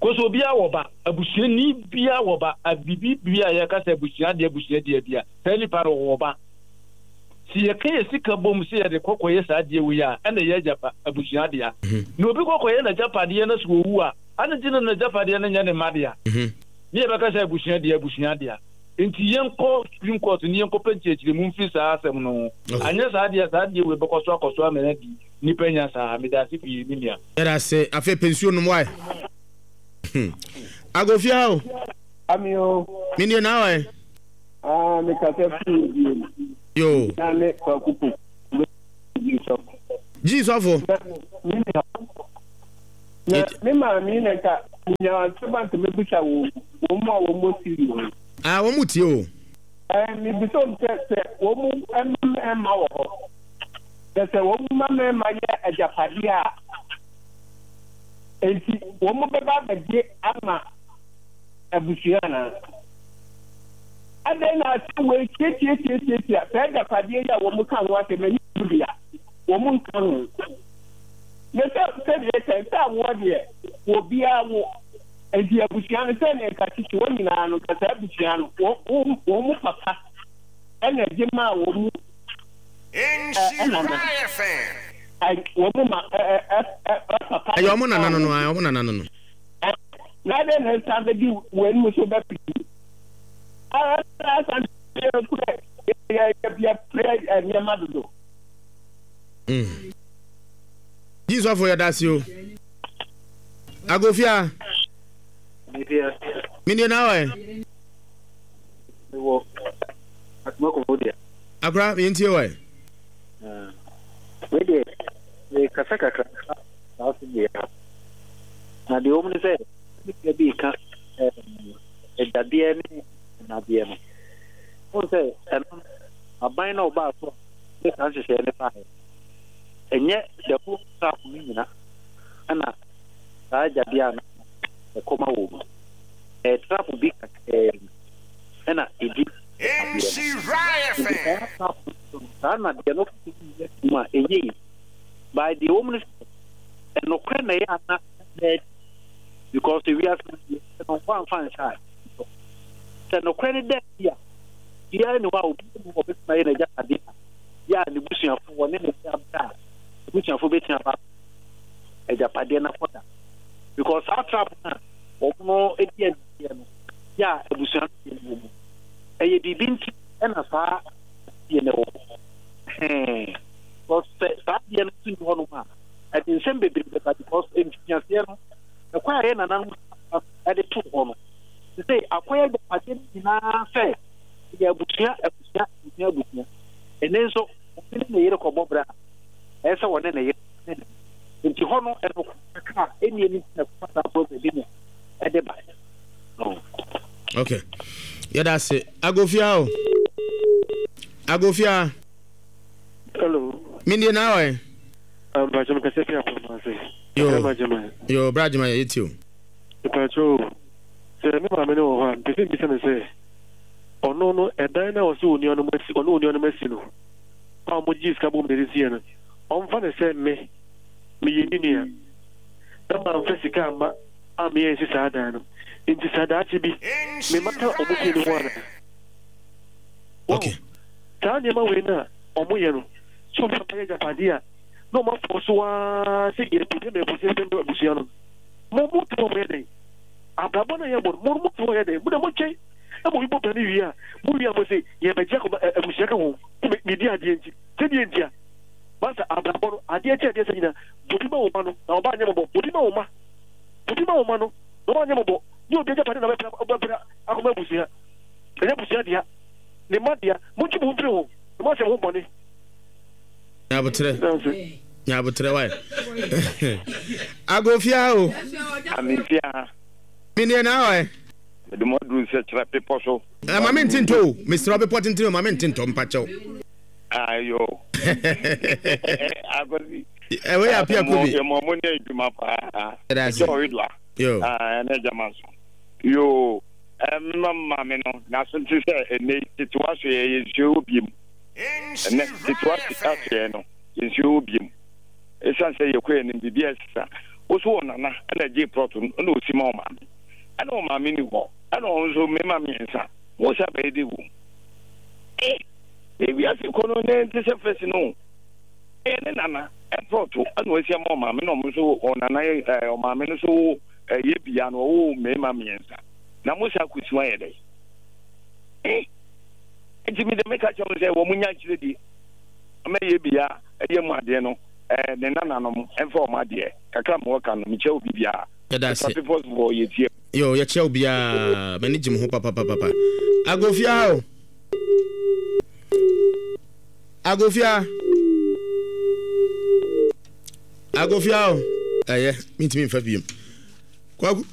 Kɔsɛ obiara wɔ ba abusuani biara wɔ ba abibi bia yɛka sɛ abusua adeɛ abusua adeɛ bia saa nipa no wɔ ba. Si yɛka yɛ sika bom sɛ yɛde kɔkɔyɛ saa adeɛ wei a ɛna yɛ agyapa abusua adeɛ. Na obi kɔkɔyɛ n'agyapadeɛ no so owu a ane nti na n'agyapadeɛ no nyɛ ne mma dea. Ne yɛbɛka sɛ abusua deɛ abusua dea. Nti yɛnkɔ Supreme Court ne yɛnkɔpɛ nkyerɛkyerɛmu mfiri saa asɛm no ho. Anyɛ saa deɛ a, saa adeɛ wei bɛkɔ so akɔ so ama no adi nnipa nya saa. Meda ase pii, me nua. Yɛda ase. Afei pɛ nsuo nom wae. Agofia o. Ami o. Me nie na wae. Ah, me kasa firi bio. Yo. Na ne kwaku po. Ji sɔfo. Ji sɔfo. Me nua. Na me maame na nka menya asɛm a nka mɛbisa wɔn wɔn mu a wɔn wɔ Syria yi. Ah, wɔn mu tie o. Ɛɛ, mebisa wɔn sɛ sɛ wɔn mu mma mmarima wɔ hɔ, na sɛ wɔn mma mmarima yɛ agyapadeɛ a, enti wɔn bɛba abɛgye ama abusua anaa? Adɛn na asɛm wei tiatiatiatiatia saa agyapadeɛ yi a wɔn ka ho asɛm ɛnyɛ wɔn dea, wɔn nka ho. Na sɛ sɛdeɛ ɛka sɛ awoɔ deɛ obiara wo, nti abusua no sɛdeɛ nka tete wɔn nyinaa no nka saa abusua no wɔn wɔn mu papa ɛna gye maa wɔn mu ɛnana wɔn mu ma ɛ ɛ ɛ papa. Ɛyɛ wɔn nana no no wɔn nana no no. Na adɛn na nsa bɛdi wɔn mu so bɛpii asan yɛ kura yɛ yɛ yɛ pere nneɛma dodo. Mm. Jisɔfo yɛ dase o. Agofia. Menie na awɔ ɛ. Mewɔ Atomakofo deɛ. Akora yɛntie wɔ ɛ. Wei deɛ mekasa kakra saa asɛm wei ha. Na deɛ wɔm ne sɛ me bi ka agyadeɛ ne nnadeɛ no. Wohu sɛ ɛno aban na ɔbaa so a ne saa nhyehyɛeɛ no baeɛ. Ɛnyɛ the whole staff no nyina ɛna saa agyadeɛ a na ɛkɔma wɔ mu. Ɛyɛ trap bi kakraa bi ɛna ɛdi adeɛ no. Nti saa trap no so no, saa nnadeɛ no yɛ mu a ɛnyɛ yi. By deɛ wɔ mu no sɛ ɛnokorɛ na ɛyɛ ana na adi because ewiase no deɛ no wɔamfa nhyɛ a sɛ nokorɛ no da adi a biara ni hɔ a obi mu ɔbɛtumi ayɛ n'agyapadeɛ a yɛ a ne busuafo wɔne ne de abɛ a busuafo bɛtumi aba agyapadeɛ no akɔda because saa trap no a wɔn no di agyapadeɛ no yɛ a abusua no deɛ no wɔ mu ɛyɛ biribi nti ɛna saa deɛ no wɔ hɔ hɛn because sɛ saa deɛ no nso ni hɔnom a ɛde nsɛm bebree bɛba because mfitiaseɛ no ɛkwan a yɛ nananom ɛde to hɔ no te sɛ akɔyɛ agyapadeɛ no nyinaa sɛ ɛyɛ abusua abusua abusua abusua ɛne nso obi ne ne yere kɔbɔ bra a ɛyɛ sɛ wɔne ne yere ne ne nti hɔ no ɛno kakra a ɛnni ɛni na ɛkɔfa saa problem bi na ɛde ba. Okay, yɛda ase agofia o agofia. Hello. Mindie na awɔ yɛ. Mpakyɛ mekasa fi apamase. Yo yo bra adwuma yɛ yɛti o. Mpakyɛ o sɛ me maame no wɔ hɔ a mpɛ sɛ mbisa no sɛ ɔno no ɛdan no a ɔsɛ onuanom asi ɔne onuanom asi no a wɔn gye sika bom na ɛde si yɛ no ɔmfa no sɛ me meyɛ ne nua na mamfa sika amma a meyɛ nsi saa dan no nti saa daakye bi me mata ɔmo fie no ho ana. Okay. Saa nneɛma wei no a ɔmo yɛ no sɛ ɔmo papa yɛ agyapadeɛ a na ɔmo afɔ so ara sɛ yɛpɛ ma abusua pɛ abusua no mo mo te hɔ mo yɛ dɛn abrabɔ no a yɛbɔ no mo mo te hɔ yɛ dɛn mo na mo twɛn ɛma obi bɔ bra no wie a mo wie a mo se yɛbɛgye akɔma abusua ka ho medi adeɛ nti sɛdeɛ nti a masa abrabɔ no adeɛ kyɛ adeɛ sɛ nyina bobi ma wo ma no na ɔba anyɛ mɔbɔ bobi ma wo ma bobi ma wo ma no na ɔba anyɛ mɔbɔ ne obi agyapade na bɛpra bɛpra akɔma abusua ɛnyɛ abusua dea ne mma dea montwe mo ho mfiri ho na moasɛ mo ho bɔne. Nyabotrɛ nyabotrɛ wae agofia o. Amefia. Meneɛ na ɔɛ. Mede mo aduru sɛ kyerɛ bepɔ so. Eh, ma mente ntɔ o. Mesrɛ bepɔ tentene o, ma mente ntɔ mpakyɛw. Ayo. Akosi. Ɛwɔ yɛ apia kobi. Yɛ mo mo ne adwuma paa. Ɛda ase. Ɔredwa. Yo. Ah, ɛne adwama so. Yo. Ɛmma maame no n'aso nte sɛ ɛnɛ tetewa so yɛ yɛ nsuo wɔ biem. Ɛnɛ tetewa so yɛ no yɛ nsuo wɔ biem. Ɛsiane sɛ yɛkɔ yɛ nim biribi a ɛsesa. Woso wɔ nana ɛna gye prɔto no ɛna osi ma ɔmaame. Ɛna ɔmaame ni hɔ. Ɛna ɔno nso mmarima mmiɛnsa. Wo sa bɛyɛ de wom. Eh, ewiase kɔ no ne nte sɛ fɛsi no. Ɛyɛ ne nana ɛprɔto ɛna osi ama ɔmaame na ɔmo nso ɔnana ɛɛ ɔmaame no so ɛyɛ bia no ɔwɔ mmarima mmiɛnsa. Na mo sa kusi wa yɛ dɛ. Eh, nti mi de meka kyerɛ mo sɛ wɔn nya nkyerɛ di ama yɛ bia ɛyɛ mu adeɛ no ɛɛ ne nananom ɛmfa wɔn adeɛ kakra ma wɔka no mekyɛ obi biara. Yɛda ase. People's for yɛ tie. Yo, yɛkyɛ wo biara. M'ani gye mo ho papapapapa. Agofia o. Agofia. Agofia o. Ɛyɛ, mentumi mfa biem. Kwaku.